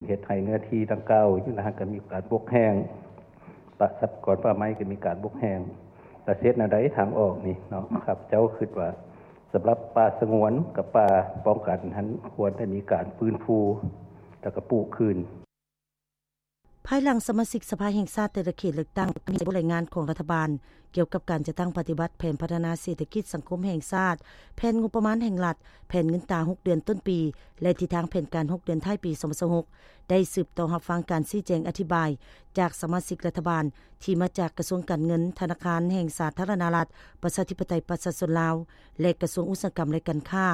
ເຮັດໃຫ້ເນື້ອທີ່ດັ່ງກ່າວຢູ່ນະ ກໍມີການບົກແຫ້ງ ປະຊາກອນປ່າໄມ້ກໍມີການບົກແຫ້ງ ແລະ ເຮັດແນວໃດທາງອອກນີ້ເນາະ ຂ້າພະເຈົ້າຄິດວ່າ ສຳລັບປ່າສະຫງວນກັບປ່າປ້ອງກັນຫັ້ນ ຄວນໄດ້ມີການຟື້ນຟູ ແລ້ວກໍປູກຄືນ. ພາຍຫຼັງສະມາຊິກສະພາແຫ່ງຊາດແຕ່ລະເຂດເລືອກຕັ້ງ ມີບົດລາຍງານຂອງລັດຖະບານ ກ່ຽວກັບການຈັດຕັ້ງປະຕິບັດແຜນພັດທະນາເສດຖະກິດສັງຄົມແຫ່ງຊາດ, ແຜນງົບປະມານແຫ່ງລັດ, ແຜນເງິນຕາຫົກເດືອນຕົ້ນປີ ແລະ ທິດທາງແຜນການຫົກເດືອນທ້າຍປີສອງພັນຊາວຫົກ ໄດ້ສືບຕໍ່ຮັບຟັງການຊີ້ແຈງອະທິບາຍຈາກສະມາຊິກລັດຖະບານ ທີ່ມາຈາກກະຊວງການເງິນ, ທະນາຄານແຫ່ງສາທາລະນະລັດ ປະຊາທິປະໄຕປະຊາຊົນລາວ ແລະ ກະຊວງອຸດສາຫະກຳ ແລະ ການຄ້າ.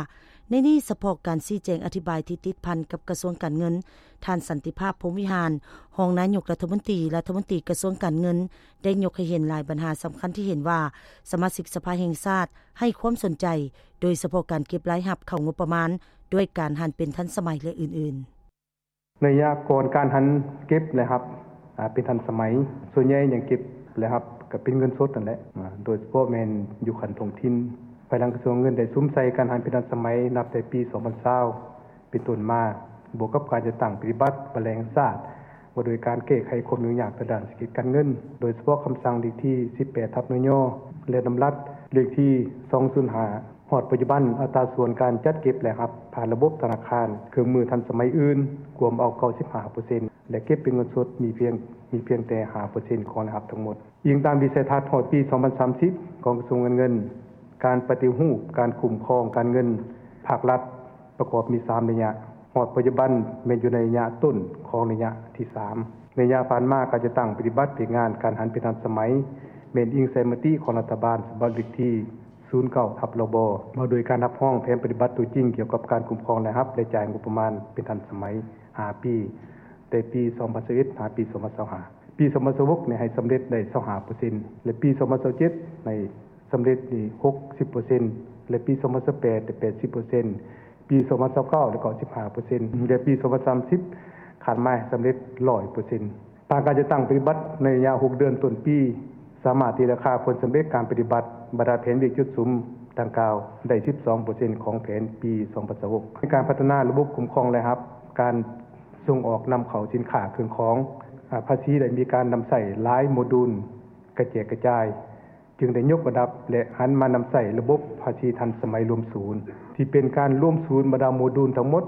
ໃນນີ້ສະເພາະການຊີ້ແຈງອະທິບາຍທີ່ຕິດພັນກັບກະຊວງການເງິນ, ທ່ານ ສັນຕິພາບ ພົມວິຫານ ຮອງນາຍົກລັດຖະມົນຕີ, ລັດຖະມົນຕີກະຊວງການເງິນ ໄດ້ຍົກໃຫ້ເຫັນຫຼາຍບັນຫາສຳຄັນທີ່ເຫັນວ່າສະມາຊິກສະພາແຫ່ງຊາດໃຫ້ຄວາມສົນໃຈ, ໂດຍສະເພາະການເກັບລາຍຮັບເຂົ້າງົບປະມານດ້ວຍການຫັນເປັນທັນສະໄໝ ແລະ ອື່ນໆ. ໃນໄລຍະກ່ອນການຫັນເກັບລາຍຮັບ ອາ ເປັນທັນສະໄໝ, ສ່ວນໃຫຍ່ຍັງເກັບລາຍຮັບກໍເປັນເງິນສົດນັ້ນແຫຼະ, ອາ ໂດຍສະເພາະແມ່ນຢູ່ຂັ້ນທ້ອງຖິ່ນ. ພາຍຫຼັງກະຊວງເງິນໄດ້ສຸມໃສ່ການຫັນເປັນທັນສະໄໝ ນັບແຕ່ປີສອງພັນຊາວ ເປັນຕົ້ນມາ, ບວກກັບການຈັດຕັ້ງປະຕິບັດບັດລາຍແຫ່ງຊາດ ວ່າດ້ວຍການແກ້ໄຂຄວາມຫຍຸ້ງຍາກທາງດ້ານເສດຖະກິດການເງິນ, ໂດຍສະເພາະຄຳສັ່ງເລກທີສິບແປດ ທັບ ນຍ ແລະ ດຳລັດເລກທີສອງສູນຫ້າ ຮອດປັດຈຸບັນ ອັດຕາສ່ວນການຈັດເກັບລາຍຮັບຜ່ານລະບົບທະນາຄານ, ເຄື່ອງມືທັນສະໄໝອື່ນ ກວມເອົາເກົ້າສິບຫ້າເປີເຊັນ ແລະ ເກັບເປັນເງິນສົດມີພຽງ, ມີພຽງແຕ່ຫ້າເປີເຊັນຂອງລາຍຮັບທັງໝົດ. ອີງຕາມວິໄສທັດຮອດປີສອງພັນສາມສິບ ຂອງກະຊວງການເງິນ, ການປະຕິຮູບການຄຸ້ມຄອງການເງິນພາກລັດ ປະກອບມີສາມໄລຍະ, ຮອດປັດຈຸບັນແມ່ນຢູ່ໃນໄລຍະຕົ້ນຂອງໄລຍະທີສາມ. ໄລຍະຜ່ານມາ ການຈັດຕັ້ງປະຕິບັດວຽກງານການຫັນເປັນທັນສະໄໝ ແມ່ນອີງໃສ່ມະຕິຂອງລັດຖະບານສະບັບເລກທີສູນເກົ້າ ທັບ ລບ ວ່າດ້ວຍການຮັບຮອງແຜນປະຕິບັດຕົວຈິງກ່ຽວກັບການຄຸ້ມຄອງລາຍຮັບ ແລະ ຈ່າຍງົບປະມານເປັນທັນສະໄໝຫ້າປີ, ແຕ່ປີສອງພັນຊາວເອັດ ຫາປີສອງພັນຊາວຫ້າ. ປີສອງພັນຊາວຫົກນີ້ໃຫ້ສຳເລັດໄດ້ຊາວຫ້າເປີເຊັນ ແລະ ປີສອງພັນຊາວເຈັດໃຫ້ສຳເລັດນີ້ຫົກສິບເປີເຊັນ ແລະ ປີສອງພັນຊາວແປດໄດ້ແປດສິບເປີເຊັນ, ປີສອງພັນຊາວເກົ້າໄດ້ເກົ້າສິບຫ້າເປີເຊັນ ແລະ ປີສອງພັນສາມສິບຄາດໝາຍໃຫ້ສຳເລັດຮ້ອຍເປີເຊັນ. ຜ່ານການຈັດຕັ້ງປະຕິບັດໃນໄລຍະຫົກເດືອນຕົ້ນປີ, ສາມາດຕີລາຄາຜົນສຳເລັດການປະຕິບັດບັນດາແຜນວຽກຈຸດສຸມດັ່ງກ່າວໄດ້ສິບສອງເປີເຊັນຂອງແຜນປີສອງພັນຊາວຫົກ. ໃນການພັດທະນາລະບົບຄຸ້ມຄອງລາຍຮັບ, ການສົ່ງອອກນຳເຂົ້າສິນຄ້າເຄື່ອງຂອງ, ອາ, ພາສີໄດ້ມີການນຳໃຊ້ຫຼາຍໂມດູນກະແຈກກະຈາຍ, ຈຶ່ງໄດ້ຍົກລະດັບ ແລະ ຫັນມານຳໃຊ້ລະບົບພາສີທັນສະໄໝລວມສູນ ທີ່ເປັນການລວມສູນບັນດາໂມດູນທັງໝົດ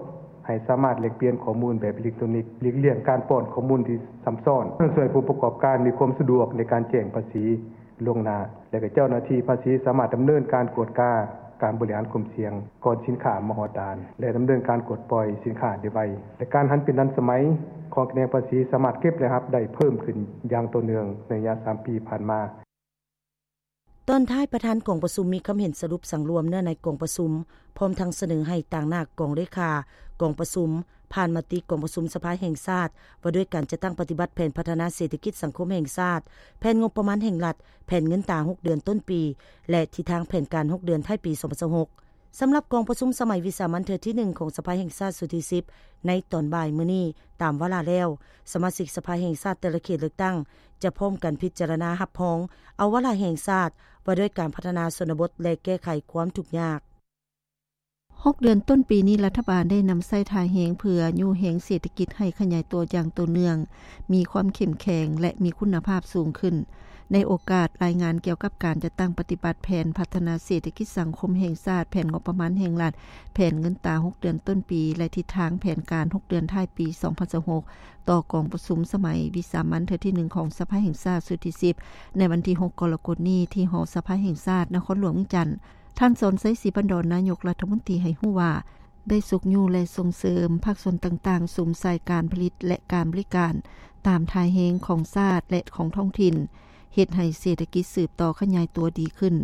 ໃຫ້ສາມາດແລກປ່ຽນຂໍ້ມູນແບບເອເລັກໂຕນິກ, ຫຼີກລ່ຽງການປ້ອນຂໍ້ມູນທີ່ຊ້ຳຊ້ອນ, ຊ່ວຍໃຫ້ຜູ້ປະກອບການມີຄວາມສະດວກໃນການແຈ້ງພາສີລ່ວງໜ້າ ແລະ ກໍເຈົ້າໜ້າທີ່ພາສີສາມາດດຳເນີນການກວດກາການບໍລິຫານຄວາມສ່ຽງກ່ອນສິນຄ້າມາຮອດດ່ານ ແລະ ດຳເນີນການປະກວດປ່ອຍສິນຄ້າໄດ້ໄວ ແລະ ການຫັນເປັນທັນສະໄໝຂອງຂະແໜງພາສີສາມາດເກັບລາຍຮັບໄດ້ເພີ່ມຂຶ້ນຢ່າງຕໍ່ເນື່ອງໃນໄລຍະສາມປີຜ່ານມາ. ຕອນທ້າຍ, ປະທານກອງປະຊຸມມີຄຳເຫັນສະຫຼຸບສັງລວມເນື້ອໃນກອງປະຊຸມ, ພ້ອມທັງສະເໜີໃຫ້ຕາງໜ້າກອງເລຂາກອງປະຊຸມ ຜ່ານມະຕິກອງປະຊຸມສະພາແຫ່ງຊາດ ວ່າດ້ວຍການຈັດຕັ້ງປະຕິບັດແຜນພັດທະນາເສດຖະກິດສັງຄົມແຫ່ງຊາດ, ແຜນງົບປະມານແຫ່ງລັດ, ແຜນເງິນຕາຫົກເດືອນຕົ້ນປີ ແລະ ທິດທາງແຜນການຫົກເດືອນທ້າຍປີສອງພັນຊາວຫົກ. ສຳລັບກອງປະຊຸມສະໄໝວິສາມັນເທື່ອທີໜຶ່ງຂອງສະພາແຫ່ງຊາດຊຸດທີສິບ ໃນຕອນບ່າຍມື້ນີ້ຕາມວາລະແລ້ວ, ສະມາຊິກສະພາແຫ່ງຊາດແຕ່ລະເຂດເລືອກຕັ້ງ ຈະພ້ອມກັນພິຈາລະນາຮັບຮອງເອົາວາລະແຫ່ງຊາດ ວ່າດ້ວຍການພັດທະນາຊົນນະບົດ ແລະ ແກ້ໄຂຄວາມທຸກຍາກ. ຫົກເດືອນຕົ້ນປີນີ້, ລັດຖະບານໄດ້ນຳໃຊ້ທ່າແຮງເພື່ອຍູ້ແຮງເສດຖະກິດໃຫ້ຂະຫຍາຍຕົວຢ່າງຕໍ່ເນື່ອງ, ມີຄວາມເຂັ້ມແຂງ ແລະ ມີຄຸນນະພາບສູງຂຶ້ນ. ໃນໂອກາດລາຍງານກ່ຽວກັບການຈັດຕັ້ງປະຕິບັດແຜນພັດທະນາເສດຖະກິດສັງຄົມແຫ່ງຊາດ, ແຜນງົບປະມານແຫ່ງລັດ, ແຜນເງິນຕາຫົກເດືອນຕົ້ນປີ ແລະ ທິດທາງແຜນການຫົກເດືອນທ້າຍປີສອງພັນຊາວຫົກ ຕໍ່ກອງປະຊຸມສະໄໝວິສາມັນເທື່ອທີໜຶ່ງຂອງສະພາແຫ່ງຊາດຊຸດທີສິບ ໃນວັນທີຫົກກໍລະກົດນີ້ ທີ່ຫໍສະພາແຫ່ງຊາດ ນະຄອນຫຼວງວຽງຈັນ, ທ່ານ ສອນໄຊ ສີພັນດອນ ນາຍົກລັດຖະມົນຕີ ໃຫ້ຮູ້ວ່າ ໄດ້ຊຸກຍູ້ ແລະ ສົ່ງເສີມພາກສ່ວນຕ່າງໆ ສຸມໃສ່ການຜະລິດ ແລະ ການບໍລິການຕາມທ່າແຮງຂອງຊາດ ແລະ ຂອງທ້ອງຖິ່ນ, ເຮັດໃຫ້ເສດຖະກິດສືບຕໍ່ຂະຫຍາຍຕົວດີຂຶ້ນ.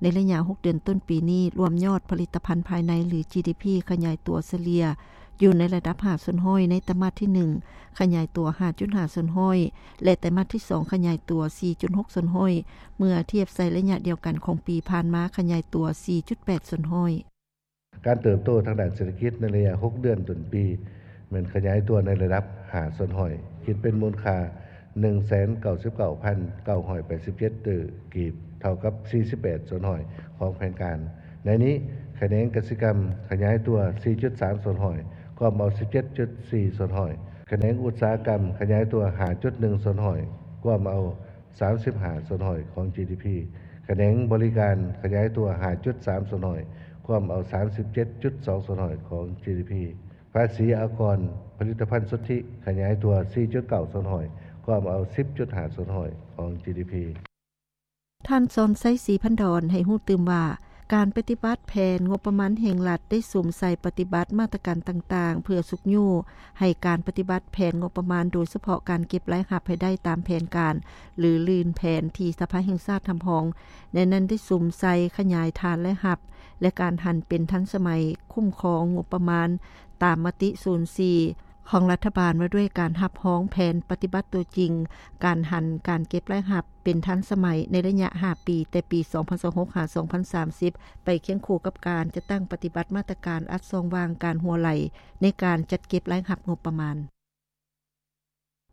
ໃນໄລຍະຫົກເດືອນຕົ້ນປີນີ້, ລວມຍອດຜະລິດຕະພັນພາຍໃນ ຫຼື ຈີດີພີ ຂະຫຍາຍຕົວສະເລ່ຍຢູ່ໃນລະດັບຫ້າສ່ວນຮ້ອຍໃນໄຕມາດທີໜຶ່ງ, ຂະຫຍາຍຕົວຫ້າຈຸດຫ້າສ່ວນຮ້ອຍ ແລະ ໄຕມາດທີສອງ ຂະຫຍາຍຕົວສີ່ຈຸດຫົກສ່ວນຮ້ອຍ ເມື່ອທຽບໃສ່ໄລຍະດຽວກັນຂອງປີຜ່ານມາ ຂະຫຍາຍຕົວສີ່ຈຸດແປດສ່ວນຮ້ອຍ. ການເຕີບໂຕທາງດ້ານເສດຖະກິດໃນໄລຍະຫົກເດືອນຕົ້ນປີ ແມ່ນຂະຫຍາຍຕົວໃນລະດັບຫ້າສ່ວນຮ້ອຍ, ຄິດເປັນມູນຄ່າໜຶ່ງແສນເກົ້າສິບເກົ້າພັນເກົ້າຮ້ອຍແປດສິບເຈັດຕື້ກີບ, ເທົ່າກັບສີ່ສິບແປດສ່ວນຮ້ອຍຂອງແຜນການ. ໃນນີ້, ຂະແໜງກະສິກຳຂະຫຍາຍຕົວສີ່ຈຸດສາມສ່ວນຮ້ອຍ, ກວມເອົາສິບເຈັດຈຸດສີ່ສ່ວນຮ້ອຍ ຂະແໜງອຸດສາຫະກຳຂະຫຍາຍຕົວ ຫ້າຈຸດໜຶ່ງສ່ວນຮ້ອຍ ກວມເອົາ ສາມສິບຫ້າສ່ວນຮ້ອຍຂອງ ຈີດີພີ ຂະແໜງບໍລິການຂະຫຍາຍຕົວ ຫ້າຈຸດສາມສ່ວນຮ້ອຍ ກວມເອົາ ສາມສິບເຈັດຈຸດສອງສ່ວນຮ້ອຍຂອງ ຈີດີພີ ພາສີອາກອນຜະລິດຕະພັນສຸດທິຂະຫຍາຍຕົວ ສີ່ຈຸດເກົ້າສ່ວນຮ້ອຍ ກວມເອົາ ສິບຈຸດຫ້າສ່ວນຮ້ອຍຂອງ ຈີດີພີ ທ່ານ ສອນໄຊ ສີພັນດອນ ໃຫ້ຮູ້ຕື່ມວ່າ ການປະຕິບັດແຜນງົບປະມານແຫ່ງລັດ ໄດ້ສຸມໃສ່ປະຕິບັດມາດຕະການຕ່າງໆ ເພື່ອຊຸກຍູ້ໃຫ້ການປະຕິບັດແຜນງົບປະມານ, ໂດຍສະເພາະການເກັບລາຍຮັບໃຫ້ໄດ້ຕາມແຜນການ ຫຼື ລື່ນແຜນທີ່ສະພາແຫ່ງຊາດຮັບຮອງ. ໃນນັ້ນໄດ້ສຸມໃສ່ຂະຫຍາຍຖານລາຍຮັບ ແລະ ການຫັນເປັນທັນສະໄໝຄຸ້ມຄອງງົບປະມານ ຕາມມະຕິສູນສີ່ ຂອງລັດຖະບານ ວ່າດ້ວຍການຮັບຮອງແຜນປະຕິບັດຕົວຈິງ, ການຫັນການເກັບລາຍຮັບເປັນທັນສະໄໝໃນໄລຍະຫ້າປີ, ແຕ່ປີສອງພັນຊາວຫົກ ຫາ ສອງພັນສາມສິບ ໄປຄຽງຄູ່ກັບການຈັດຕັ້ງປະຕິບັດມາດຕະການອັດຊ່ອງວ່າງການຮົ່ວໄຫຼໃນການຈັດເກັບລາຍຮັບງົບປະມານ.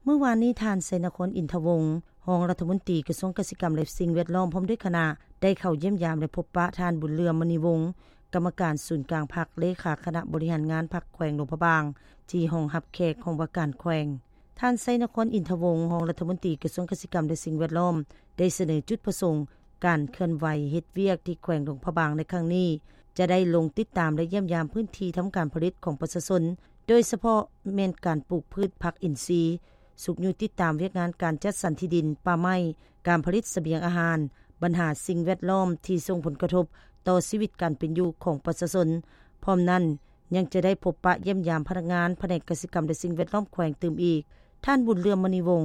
ມື້ວານນີ້ ທ່ານ ໄຊນະຄອນ ອິນທະວົງ ຮອງລັດຖະມົນຕີກະຊວງກະສິກຳ ແລະ ສິ່ງແວດລ້ອມ ພ້ອມດ້ວຍຄະນະ ໄດ້ເຂົ້າຢ້ຽມຢາມ ແລະ ພົບປະທ່ານ ບຸນເຫຼືອມ ມະນີວົງ ກຳມະການສູນກາງພັກ, ເລຂາຄະນະບໍລິຫານງານພັກແຂວງຫຼວງພະບາງ ທີ່ຫ້ອງຮັບແຂກຫ້ອງວ່າການແຂວງ. ທ່ານ ໄຊນະຄອນ ອິນທະວົງ ຮອງລັດຖະມົນຕີກະຊວງກະສິກຳ ແລະ ສິ່ງແວດລ້ອມ ໄດ້ສະເໜີຈຸດປະສົງການເຄື່ອນໄຫວເຮັດວຽກທີ່ແຂວງຫຼວງພະບາງໃນຄັ້ງນີ້ ຈະໄດ້ລົງຕິດຕາມ ແລະ ຢ້ຽມຢາມພື້ນທີ່ທຳການຜະລິດຂອງປະຊາຊົນ, ໂດຍສະເພາະແມ່ນການປູກພືດຜັກອິນຊີ, ຊຸກຍູ້ຕິດຕາມວຽກງານການຈັດສັນທີ່ດິນ, ປ່າໄມ້, ການຜະລິດສະບຽງອາຫານ, ບັນຫາສິ່ງແວດລ້ອມທີ່ສົ່ງຜົນກະທົບຕໍ່ຊີວິດການເປັນຢູ່ຂອງປະຊາຊົນ. ພ້ອມນັ້ນ ຍັງຈະໄດ້ພົບປະຢ້ຽມຢາມພະນັກງານພະແນກກະສິກຳ ແລະ ສິ່ງແວດລ້ອມແຂວງຕື່ມອີກ. ທ່ານ ບຸນເຫຼືອມ ມະນີວົງ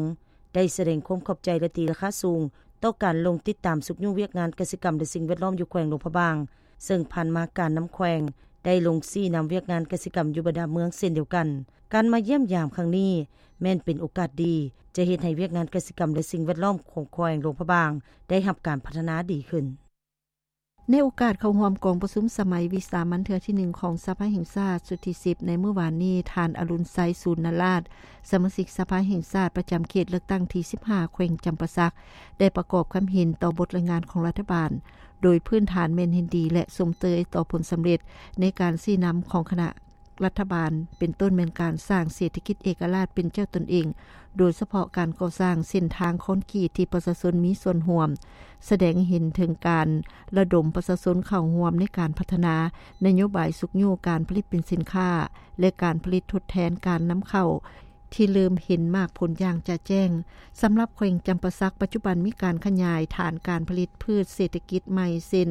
ໄດ້ສະແດງຄວາມຂອບໃຈ ແລະ ຕີລາຄາສູງຕໍ່ການລົງຕິດຕາມຊຸກຍູ້ວຽກງານກະສິກຳ ແລະ ສິ່ງແວດລ້ອມຢູ່ແຂວງຫຼວງພະບາງ, ເຊິ່ງຜ່ານມາການນຳແຂວງໄດ້ລົງຊີ້ນຳວຽກງານກະສິກຳຢູ່ບັນດາເມືອງເຊັ່ນດຽວກັນ. ການມາຢ້ຽມຢາມຄັ້ງນີ້ແມ່ນເປັນໂອກາດດີ ຈະເຮັດໃຫ້ວຽກງານກະສິກຳ ແລະ ສິ່ງແວດລ້ອມຂອງແຂວງຫຼວງພະບາງໄດ້ຮັບການພັດທະນາດີຂຶ້ນ. ໃນໂອກາດເຂົ້າຮ່ວມກອງປະຊຸມສະໄໝວິສາມັນເທື່ອທີໜຶ່ງຂອງສະພາແຫ່ງຊາດຊຸດທີສິບ ໃນມື້ວານນີ້, ທ່ານ ອະລຸນໄຊ ສູນນະລາດ ສະມາຊິກສະພາແຫ່ງຊາດປະຈຳເຂດເລືອກຕັ້ງທີສິບຫ້າ ແຂວງຈຳປາສັກ ໄດ້ປະກອບຄຳເຫັນຕໍ່ບົດລາຍງານຂອງລັດຖະບານ, ໂດຍພື້ນຖານແມ່ນເຫັນດີ ແລະ ຊົມເຊີຍຕໍ່ຜົນສຳເລັດໃນການຊີ້ນຳຂອງຄະນະ ລັດຖະບານ ເປັນຕົ້ນແມ່ນການສ້າງເສດຖະກິດເອກະລາດເປັນເຈົ້າຕົນເອງ, ໂດຍສະເພາະການກໍ່ສ້າງເສັ້ນທາງຄອນກຣີດທີ່ປະຊາຊົນມີສ່ວນຮ່ວມ, ສະແດງໃຫ້ເຫັນເຖິງການລະດົມປະຊາຊົນເຂົ້າຮ່ວມໃນການພັດທະນານະໂຍບາຍຊຸກຍູ້ການຜະລິດເປັນສິນຄ້າ ແລະ ການຜະລິດທົດແທນການນຳເຂົ້າ ທີ່ເລີ່ມເຫັນໝາກຜົນຢ່າງຈະແຈ້ງ. ສຳລັບແຂວງຈຳປາສັກ, ປັດຈຸບັນມີການຂະຫຍາຍຖານການຜະລິດພືດເສດຖະກິດໃໝ່ ເຊັ່ນ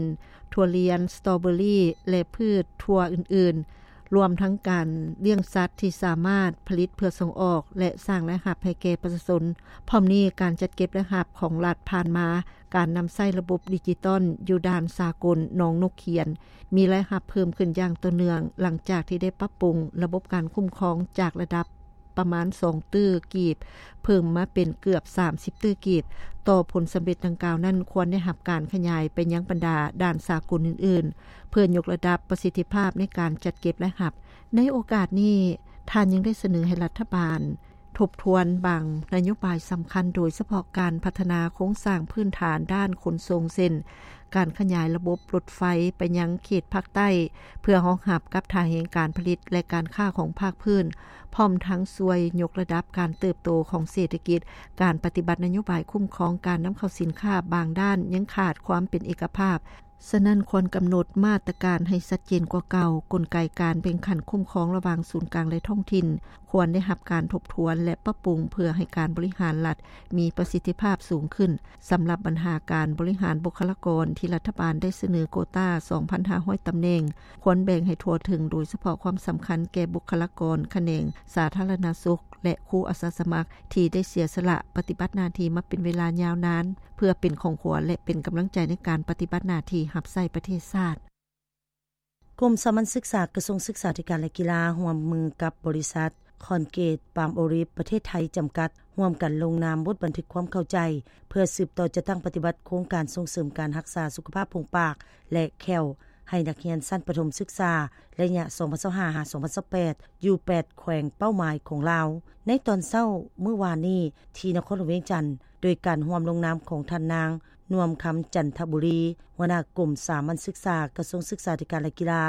ຖົ່ວລຽນ, ສະຕໍເບີຣີ ແລະ ພືດຖົ່ວອື່ນໆ, ລວມທັງການລ້ຽງສັດທີ່ສາມາດຜະລິດເພື່ອສົ່ງອອກ ແລະ ສ້າງລາຍຮັບໃຫ້ແກ່ປະຊາຊົນ. ພ້ອມນີ້, ການຈັດເກັບລາຍຮັບຂອງລັດຜ່ານມາ, ການນຳໃຊ້ລະບົບດິຈິຕອນຢູ່ດ່ານສາກົນໜອງນົກຂຽນ ມີລາຍຮັບເພີ່ມຂຶ້ນຢ່າງຕໍ່ເນື່ອງ ຫຼັງຈາກທີ່ໄດ້ປັບປຸງລະບົບການຄຸ້ມຄອງຈາກລະດັບ ປະມານສອງຕື້ກີບ ເພີ່ມມາເປັນເກືອບສາມສິບຕື້ກີບ. ຕໍ່ຜົນສຳເລັດດັ່ງກ່າວນັ້ນ ຄວນໄດ້ຮັບການຂະຫຍາຍໄປຍັງບັນດາດ່ານສາກົນອື່ນໆ ເພື່ອຍົກລະດັບປະສິດທິພາບໃນການຈັດເກັບລາຍຮັບ. ໃນໂອກາດນີ້, ທ່ານຍັງໄດ້ສະເໜີໃຫ້ລັດຖະບານທົບທວນບາງນະໂຍບາຍສຳຄັນ, ໂດຍສະເພາະການພັດທະນາໂຄງສ້າງພື້ນຖານດ້ານຂົນສົ່ງ ເຊັ່ນ ການຂະຫຍາຍລະບົບລົດໄຟໄປຍັງເຂດພາກໃຕ້ ເພື່ອຮອງຮັບກັບທ່າແຮງການຜະລິດ ແລະ ການຄ້າຂອງພາກພື້ນ, ພ້ອມທັງຊ່ວຍຍົກລະດັບການເຕີບໂຕຂອງເສດຖະກິດ, ການປະຕິບັດນະໂຍບາຍຄຸ້ມຄອງການນຳເຂົ້າສິນຄ້າບາງດ້ານຍັງຂາດຄວາມເປັນເອກະພາບ. ສະນັ້ນ, ຄວນກຳນົດມາດຕະການໃຫ້ຊັດເຈນກວ່າເກົ່າ, ກົນໄກການແບ່ງຂັ້ນຄຸ້ມຄອງລະຫວ່າງສູນກາງ ແລະ ທ້ອງຖິ່ນ ຄວນໄດ້ຮັບການທົບທວນ ແລະ ປັບປຸງ ເພື່ອໃຫ້ການບໍລິຫານລັດ ມີປະສິດທິພາບສູງຂຶ້ນ. ສຳລັບບັນຫາການບໍລິຫານບຸກຄະລາກອນ ທີ່ລັດຖະບານໄດ້ສະເໜີໂກຕາ ສອງພັນຫ້າຮ້ອຍຕຳແໜ່ງ ຄວນແບ່ງໃຫ້ທົ່ວເຖິງ, ໂດຍສະເພາະຄວາມສຳຄັນແກ່ບຸກຄະລາກອນຂະແໜງສາທາລະນະສຸກ ແລະ ຄູອາສາສະໝັກ ທີ່ໄດ້ເສຍສະຫຼະປະຕິບັດໜ້າທີ່ມາເປັນເວລາຍາວນານ ເພື່ອເປັນຂອງຂວັນ ແລະ ເປັນກຳລັງໃຈໃນການປະຕິບັດໜ້າທີ່ຮັບໃຊ້ປະເທດຊາດ. ກົມສາມັນສຶກສາ ກະຊວງສຶກສາທິການ ແລະ ກິລາ ຮ່ວມມືກັບບໍລິສັດຄອນກຣີດປາມໂອລິບປະເທດໄທຈຳກັດ ຮ່ວມກັນລົງນາມບົດບັນທຶກຄວາມເຂົ້າໃຈ ເພື່ອສືບຕໍ່ຈັດຕັ້ງປະຕິບັດໂຄງການສົ່ງເສີມການຮັກສາສຸຂະພາບໂພງປາກ ແລະ ແຂ້ວ ໃຫ້ນັກຮຽນຊັ້ນປະຖົມສຶກສາ ໄລຍະ ສອງພັນຊາວຫ້າ ຫາ ສອງພັນຊາວແປດ ຢູ່ແປດແຂວງເປົ້າໝາຍຂອງລາວ. ໃນຕອນເຊົ້າມື້ວານນີ້ ທີ່ນະຄອນຫຼວງວຽງຈັນ, ໂດຍການຮ່ວມລົງນາມຂອງທ່ານນາງ ນວມຄຳ ຈັນທະບູລີ ຫົວໜ້າກົມສາມັນສຶກສາ ກະຊວງສຶກສາທິການ ແລະ ກິລາ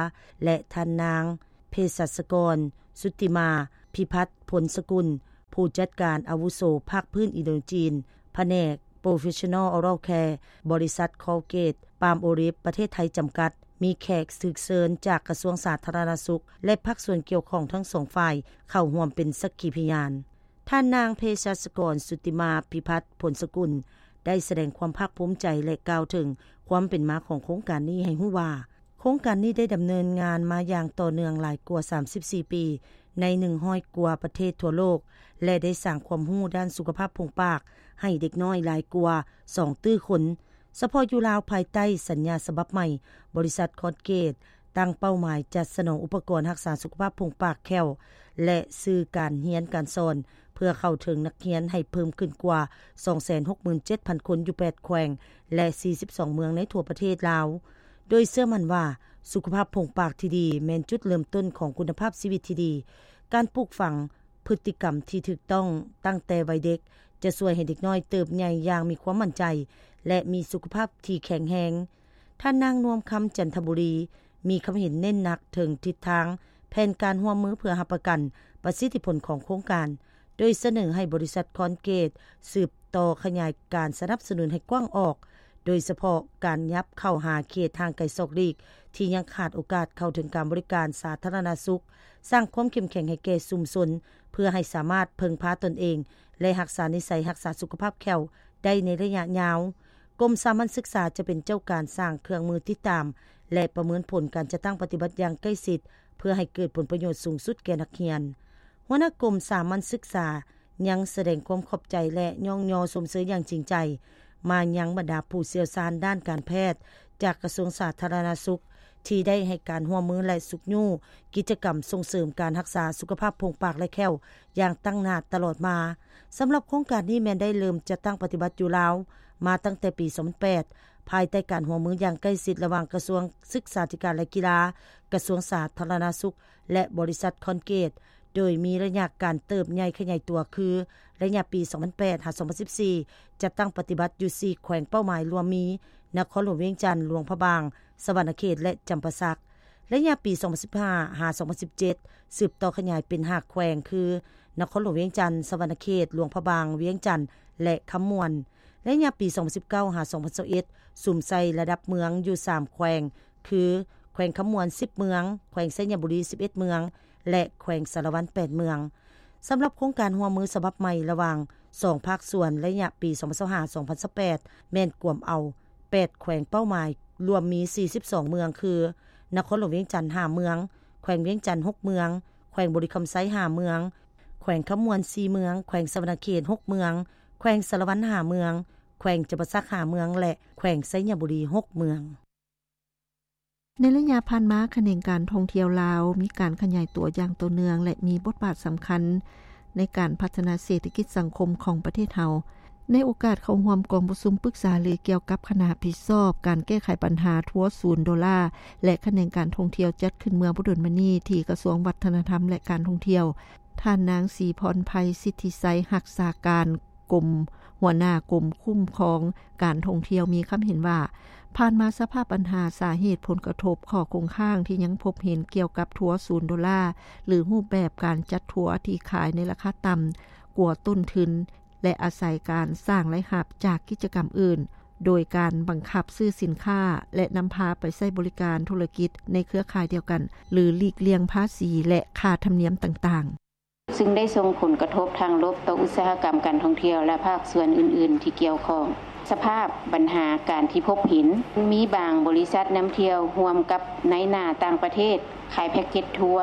ແລະ ທ່ານນາງ ເພສັດສະກອນ ສຸດຕິມາ ເພ ພິພັດ ພົນສະກຸນ, ຜູ້ຈັດການອາວຸໂສພາກພື້ນອິນໂດຈີນ, ພະແນກ Professional Oral Care ບໍລິສັດ Colgate Palmolive ປະເທດໄທ ຈຳກັດ, ມີແຂກຖືກເຊີນຈາກກະຊວງສາທາລະນະສຸກ ແລະ ພາກສ່ວນກ່ຽວຂ້ອງທັງສອງຝ່າຍເຂົ້າຮ່ວມເປັນສັກຂີພະຍານ. ທ່ານນາງເພສັດສະກອນ ສຸຕິມາ ພິພັດ ພົນສະກຸນ ໄດ້ສະແດງຄວາມພາກພູມໃຈ ແລະ ກ່າວເຖິງຄວາມເປັນມາຂອງໂຄງການນີ້ໃຫ້ຮູ້ວ່າ, ໂຄງການນີ້ໄດ້ດຳເນີນງານມາຢ່າງຕໍ່ເນື່ອງຫຼາຍກວ່າສາມສິບສີ່ປີ ໃນໜຶ່ງຮ້ອຍກວ່າປະເທດທົ່ວໂລກ ແລະ ໄດ້ສ້າງຄວາມຮູ້ດ້ານສຸຂະພາບໂພງປາກໃຫ້ເດັກນ້ອຍຫຼາຍກວ່າສອງຕື້ຄົນ. ສະເພາະຢູ່ລາວ, ພາຍໃຕ້ສັນຍາສະບັບໃໝ່, ບໍລິສັດ Colgate ຕັ້ງເປົ້າໝາຍຈັດສະໜອງອຸປະກອນຮັກສາສຸຂະພາບໂພງປາກແຂ້ວ ແລະ ສື່ການຮຽນການສອນ ເພື່ອເຂົ້າເຖິງນັກຮຽນໃຫ້ເພີ່ມຂຶ້ນກວ່າສອງແສນຫົກໝື່ນເຈັດພັນຄົນ ຢູ່ແປດແຂວງ ແລະ ສີ່ສິບສອງເມືອງໃນທົ່ວປະເທດລາວ, ໂດຍເຊື່ອໝັ້ນວ່າ ສຸຂະພາບໂພງປາກທີ່ດີແມ່ນຈຸດເລີ່ມຕົ້ນຂອງຄຸນນະພາບຊີວິດທີ່ດີ. ການປູກຝັງພຶດຕິກຳທີ່ຖືກຕ້ອງຕັ້ງແຕ່ໄວເດັກ ຈະຊ່ວຍໃຫ້ເດັກນ້ອຍເຕີບໃຫຍ່ຢ່າງມີຄວາມໝັ້ນໃຈ ແລະ ມີສຸຂະພາບທີ່ແຂງແຮງ. ທ່ານນາງ ນວມຄຳ ຈັນທະບູລີ ມີຄຳເຫັນເນັ້ນໜັກເຖິງທິດທາງແຜນການຮ່ວມມືເພື່ອຮັບປະກັນປະສິດທິຜົນຂອງໂຄງການ, ໂດຍສະເໜີໃຫ້ບໍລິສັດ Colgate ສືບຕໍ່ຂະຫຍາຍການສະໜັບສະໜູນໃຫ້ກວ້າງອອກ, ໂດຍສະເພາະການຫຍັບເຂົ້າຫາເຂດຫ່າງໄກສອກຫຼີກທີ່ຍັງຂາດໂອກາດເຂົ້າເຖິງການບໍລິການສາທາລະນະສຸກ, ສ້າງຄວາມເຂັ້ມແຂງໃຫ້ແກ່ຊຸມຊົນ ເພື່ອໃຫ້ສາມາດເພິ່ງພາຕົນເອງ ແລະ ຮັກສານິໄສຮັກສາສຸຂະພາບແຂ້ວໄດ້ໃນໄລຍະຍາວ. ກົມສາມັນສຶກສາຈະເປັນເຈົ້າການສ້າງເຄື່ອງມືຕິດຕາມ ແລະ ປະເມີນຜົນການຈັດຕັ້ງປະຕິບັດຢ່າງໃກ້ຊິດ ເພື່ອໃຫ້ເກີດຜົນປະໂຫຍດສູງສຸດແກ່ນັກຮຽນ. ຫົວໜ້າກົມສາມັນສຶກສາຍັງສະແດງຄວາມຂອບໃຈ ແລະ ຍ້ອງຍໍຊົມເຊີຍຢ່າງຈິງໃຈມາຍັງບັນດາຜູ້ຊ່ຽວຊານດ້ານການແພດຈາກກະຊວງສາທາລະນະສຸກ ທີ່ໄດ້ໃຫ້ການຮ່ວມມື ແລະ ຊຸກຍູ້ກິດຈະກຳສົ່ງເສີມການຮັກສາສຸຂະພາບໂພງປາກ ແລະ ແຂ້ວຢ່າງຕັ້ງໜ້າຕະຫຼອດມາ. ສຳລັບໂຄງການນີ້ແມ່ນໄດ້ເລີ່ມຈັດຕັ້ງປະຕິບັດຢູ່ລາວມາຕັ້ງແຕ່ປີສອງພັນແປດ ພາຍໃຕ້ການຮ່ວມມືຢ່າງໃກ້ຊິດລະຫວ່າງກະຊວງສຶກສາທິການ ແລະ ກິລາ, ກະຊວງສາທາລະນະສຸກ ແລະ ບໍລິສັດ Colgate, ໂດຍມີໄລຍະການເຕີບໃຫຍ່ຂະຫຍາຍຕົວຄື ໄລຍະປີສອງພັນແປດຫາສອງພັນສິບສີ່ ຈັດຕັ້ງປະຕິບັດຢູ່ສີ່ແຂວງເປົ້າໝາຍ ລວມມີ ນະຄອນຫຼວງວຽງຈັນ, ຫຼວງພະບາງ, ສະຫວັນນະເຂດ ແລະ ຈຳປາສັກ. ໄລຍະປີສອງພັນສິບຫ້າຫາສອງພັນສິບເຈັດ ສືບຕໍ່ຂະຫຍາຍເປັນຫ້າແຂວງ ຄື ນະຄອນຫຼວງວຽງຈັນ, ສະຫວັນນະເຂດ, ຫຼວງພະບາງ, ວຽງຈັນ ແລະ ຄຳມ່ວນ. ໄລຍະປີສອງພັນສິບເກົ້າຫາສອງພັນຊາວເອັດ ສຸມໃສ່ລະດັບເມືອງຢູ່ສາມແຂວງ ຄື ແຂວງຄຳມ່ວນສິບເມືອງ, ແຂວງໄຊຍະບູລີສິບເອັດເມືອງ ແລະ ແຂວງສາລະວັນແປດເມືອງ. ສຳລັບໂຄງການຮ່ວມມືສະບັບໃໝ່ລະຫວ່າງສອງພາກສ່ວນ ໄລຍະປີສອງພັນຊາວຫ້າ ສອງພັນຊາວແປດ ແມ່ນກວມເອົາແປດແຂວງເປົ້າໝາຍ ລວມມີສີ່ສິບສອງເມືອງ ຄື ນະຄອນຫຼວງວຽງຈັນຫ້າເມືອງ, ແຂວງວຽງຈັນຫົກເມືອງ, ແຂວງບໍລິຄຳໄຊຫ້າເມືອງ, ແຂວງຄຳມ່ວນສີ່ເມືອງ, ແຂວງສະຫວັນນະເຂດຫົກເມືອງ, ແຂວງສາລະວັນຫ້າເມືອງ, ແຂວງຈຳປາສັກຫ້າເມືອງ ແລະ ແຂວງໄຊຍະບູລີຫົກເມືອງ. ໃນໄລຍະຜ່ານມາ, ຂະແໜງການທ່ອງທ່ຽວລາວມີການຂະຫຍາຍຕົວຢ່າງຕໍ່ເນື່ອງ ແລະ ມີບົດບາດສຳຄັນໃນການພັດທະນາເສດຖະກິດສັງຄົມຂອງປະເທດເຮົາ. ໃນໂອກາດເຂົ້າຮ່ວມກອງປະຊຸມປຶກສາຫາລືກ່ຽວກັບຄະນະຮັບຜິດຊອບການແກ້ໄຂບັນຫາທົວສູນໂດລາ ແລະ ຂະແໜງການທ່ອງທ່ຽວ ຈັດຂຶ້ນເມື່ອບໍ່ດົນມານີ້ທີ່ກະຊວງວັດທະນະທຳ ແລະ ການທ່ອງທ່ຽວ, ທ່ານນາງ ສີພອນໄພ ສິດທິໄຊ ຮັກສາການ ກົມ ຫົວໜ້າກົມຄຸ້ມຄອງການທ່ອງທ່ຽວ ມີຄຳເຫັນວ່າ, ຜ່ານມາສະພາບບັນຫາສາເຫດຜົນກະທົບ ຂໍ້ຄົງຄ້າງທີ່ຍັງພົບເຫັນກ່ຽວກັບທົວສູນໂດລາ ຫຼື ຮູບແບບການຈັດທົວທີ່ຂາຍໃນລາຄາຕ່ຳກວ່າຕົ້ນທຶນ ແລະ ອາໄສການສ້າງລາຍຮັບຈາກກິດຈະກຳອື່ນ ໂດຍການບັງຄັບຊື້ສິນຄ້າ ແລະ ນຳພາໄປໃຊ້ບໍລິການທຸລະກິດໃນເຄືອຂ່າຍດຽວກັນ ຫຼື ຫຼີກລ່ຽງພາສີ ແລະ ຄ່າທຳນຽມຕ່າງໆ. ຊຶ່ງໄດ້ສົ່ງຜົນກະທົບທາງລົບຕໍ່ອຸດສາຫະກຳການທ່ອງທ່ຽວ ແລະ ພາກສ່ວນອື່ນໆທີ່ກ່ຽວຂ້ອງ. ສະພາບບັນຫາການທີ່ພົບເຫັນ, ມີບາງບໍລິສັດນຳທ່ຽວຮ່ວມກັບນາຍໜ້າຕ່າງປະເທດ ຂາຍແພັກເກັດທົວ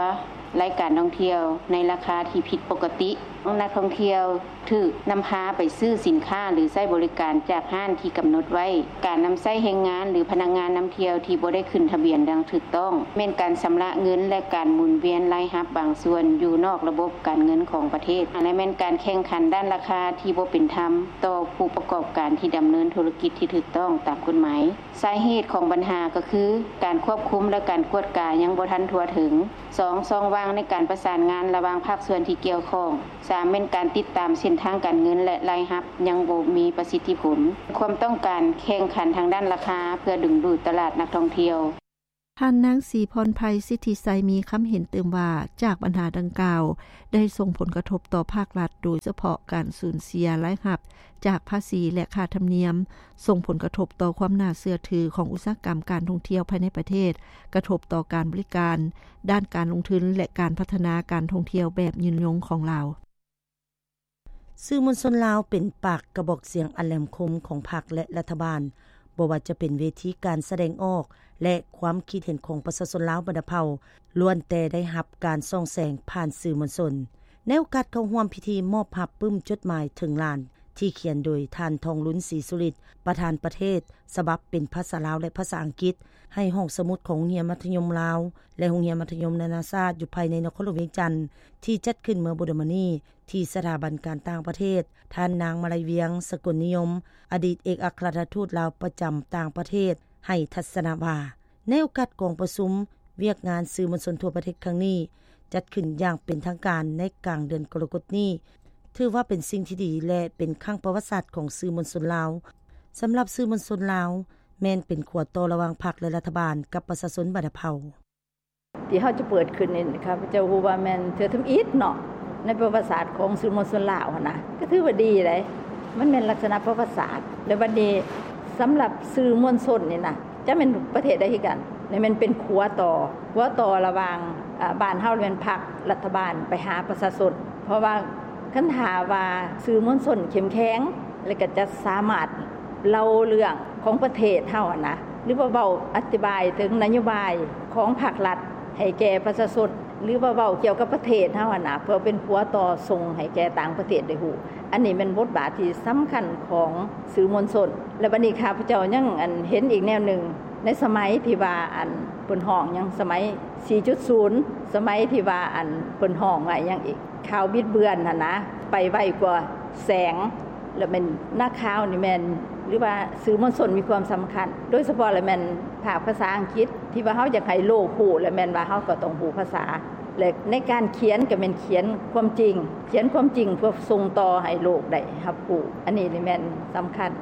ລາຍການທ່ອງທ່ຽວໃນລາຄາທີ່ຜິດປົກກະຕິ. ນັກທ່ອງທ່ຽວຖືກນຳພາໄປຊື້ສິນຄ້າ ຫຼື ໃຊ້ບໍລິການຈາກຮ້ານທີ່ກຳນົດໄວ້. ການນຳໃຊ້ແຮງງານ ຫຼື ພະນັກງານນຳທ່ຽວທີ່ບໍ່ໄດ້ຂຶ້ນທະບຽນຢ່າງຖືກ ຕ້ອງ, ແມ່ນການຊຳລະເງິນ ແລະ ການໝູນວຽນລາຍຮັບບາງສ່ວນຢູ່ນອກລະບົບການເງິນຂອງປະເທດ, ແລະ ແມ່ນການແຂ່ງຂັນດ້ານລາຄາທີ່ບໍ່ເປັນທຳຕໍ່ຜູ້ປະກອບການທີ່ດຳເນີນທຸລະກິດທີ່ຖືກຕ້ອງຕາມກົດໝາຍ. ສາເຫດຂອງບັນຫາກໍຄື ການຄວບຄຸມ ແລະ ການກວດກາຍັງບໍ່ທັນທົ່ວເຖິງ. ສອງ, ຊ່ອງວ່າງໃນການປະສານງານລະຫວ່າງພາກສ່ວນທີ່ກ່ຽວຂ້ອງ. ສາມ, ແມ່ນການຕິດຕາມເສັ້ນທາງການເງິນ ແລະ ລາຍຮັບຍັງບໍ່ມີປະສິດທິຜົນ. ຄວາມຕ້ອງການແຂ່ງຂັນທາງດ້ານລາຄາເພື່ອດຶງດູດຕະຫຼາດນັກທ່ອງທ່ຽວ. ທ່ານນາງ ສີພອນໄພ ສິດທິໄຊ ມີຄຳເຫັນຕື່ມວ່າ ຈາກບັນຫາດັ່ງກ່າວ ໄດ້ສົ່ງຜົນກະທົບຕໍ່ພາກລັດ ໂດຍສະເພາະການສູນເສຍລາຍຮັບຈາກພາສີ ແລະ ຄ່າທຳນຽມ, ສົ່ງຜົນກະທົບຕໍ່ຄວາມໜ້າເຊື່ອຖືຂອງອຸດສາຫະກຳການທ່ອງທ່ຽວພາຍໃນປະເທດ, ກະທົບຕໍ່ການບໍລິການ, ດ້ານການລົງທຶນ ແລະ ການພັດທະນາການທ່ອງທ່ຽວແບບຍືນຍົງຂອງລາວ. ສື່ມວນຊົນລາວເປັນປາກກະບອກສຽງອັນແຫຼມຄົມຂອງພັກ ແລະ ລັດຖະບານ, ບໍ່ວ່າຈະເປັນເວທີການສະແດງອອກ ແລະ ຄວາມຄິດເຫັນຂອງປະຊາຊົນລາວບັນດາເຜົ່າ ລ້ວນແຕ່ໄດ້ຮັບການສ່ອງແສງຜ່ານສື່ມວນຊົນ. ໃນໂອກາດເຂົ້າຮ່ວມພິທີມອບຮັບປຶ້ມຈົດໝາຍເຖິງລ້ານ ທີ່ຂຽນໂດຍທ່ານ ທອງລຸນ ສີສຸລິດ ປະທານປະເທດ, ສະບັບເປັນພາສາລາວ ແລະ ພາສາອັງກິດ ໃຫ້ຫ້ອງສະໝຸດຂອງໂຮງຮຽນມັດທະຍົມລາວ ແລະ ໂຮງຮຽນມັດທະຍົມນານາຊາດ ຢູ່ພາຍໃນນະຄອນຫຼວງວຽງຈັນ ທີ່ຈັດຂຶ້ນເມື່ອບໍ່ດົນມານີ້ ທີ່ສະຖາບັນການຕ່າງປະເທດ, ທ່ານນາງ ມາໄລວຽງ ສະກົນນິຍົມ ອະດີດເອກອັກຄະລັດຖະທູດລາວປະຈຳຕ່າງປະເທດ ໃຫ້ທັດສະນະວ່າ ໃນໂອກາດກອງປະຊຸມວຽກງານສື່ມວນຊົນທົ່ວປະເທດຄັ້ງນີ້ ຈັດຂຶ້ນຢ່າງເປັນທາງການໃນກາງເດືອນກໍລະກົດນີ້ ຖືວ່າເປັນສິ່ງທີ່ດີ ແລະ ເປັນຄັ້ງປະຫວັດສາດຂອງສື່ມວນຊົນລາວ. ສຳລັບສື່ມວນຊົນລາວ ແມ່ນເປັນຂົວຕໍ່ລະຫວ່າງພັກ ແລະ ລັດຖະບານ ກັບປະຊາຊົນບັນດາເຜົ່າ. ທີ່ເຮົາຈະເປີດຂຶ້ນນີ້ ຂ້າພະເຈົ້າຮູ້ວ່າແມ່ນເທື່ອທຳອິດເນາະ ໃນປະຫວັດສາດຂອງສື່ມວນຊົນລາວຫັ້ນນະ ກໍຖືວ່າດີເດ້ ມັນແມ່ນລັກສະນະປະຫວັດສາດ. ແລ້ວບັດນີ້ສຳລັບສື່ມວນຊົນນີ້ນະ ຈະແມ່ນປະເທດໃດຄືກັນ ແມ່ນເປັນຂົວຕໍ່ ຂົວຕໍ່ລະຫວ່າງ ອາ ບ້ານເຮົາ ແມ່ນພັກ ລັດຖະບານ ໄປຫາປະຊາຊົນ. ເພາະວ່າຄັນຖ້າວ່າສື່ມວນຊົນເຂັ້ມແຂງ ແລ້ວກໍຈະສາມາດເລົ່າເລື່ອງຂອງປະເທດເຮົາຫັ້ນນະ ຫຼືວ່າເວົ້າອະທິບາຍເຖິງນະໂຍບາຍຂອງພັກລັດໃຫ້ແກ່ປະຊາຊົນ ຫຼືວ່າເວົ້າກ່ຽວກັບປະເທດເຮົາຫັ້ນນະ ເພື່ອເປັນຂົວຕໍ່ສົ່ງໃຫ້ແກ່ຕ່າງປະເທດໄດ້ຮູ້. ອັນນີ້ແມ່ນບົດບາດທີ່ສຳຄັນຂອງສື່ມວນຊົນ. ແລະ ບັດນີ້ຂ້າພະເຈົ້າຍັງ ອັນ ເຫັນອີກແນວໜຶ່ງ ໃນສະໄໝທີ່ວ່າ ອັນ ເພິ່ນຮ້ອງຫຍັງ ສະໄໝສີ່ຈຸດສູນ ສະໄໝທີ່ວ່າ ອັນ ເພິ່ນຮ້ອງວ່າຫຍັງອີກ ຂ່າວບິດເບືອນຫັ້ນນະ ໄປໄວກວ່າແສງ ແລ້ວແມ່ນນັກຂ່າວນີ້ແມ່ນ ຫຼືວ່າສື່ມວນຊົນມີຄວາມສຳຄັນ ໂດຍສະເພາະແລ້ວແມ່ນພາກພາສາອັງກິດ ທີ່ວ່າເຮົາຢາກໃຫ້ໂລກຮູ້ ແລ້ວແມ່ນວ່າເຮົາກໍຕ້ອງຮູ້ພາສາ ແລະ ໃນການຂຽນກໍແມ່ນຂຽນຄວາມຈິງ ຂຽນຄວາມຈິງເພື່ອສົ່ງຕໍ່ໃຫ້ໂລກໄດ້ຮັບຮູ້ ອັນນີ້ນີ້ແມ່ນສຳຄັນ.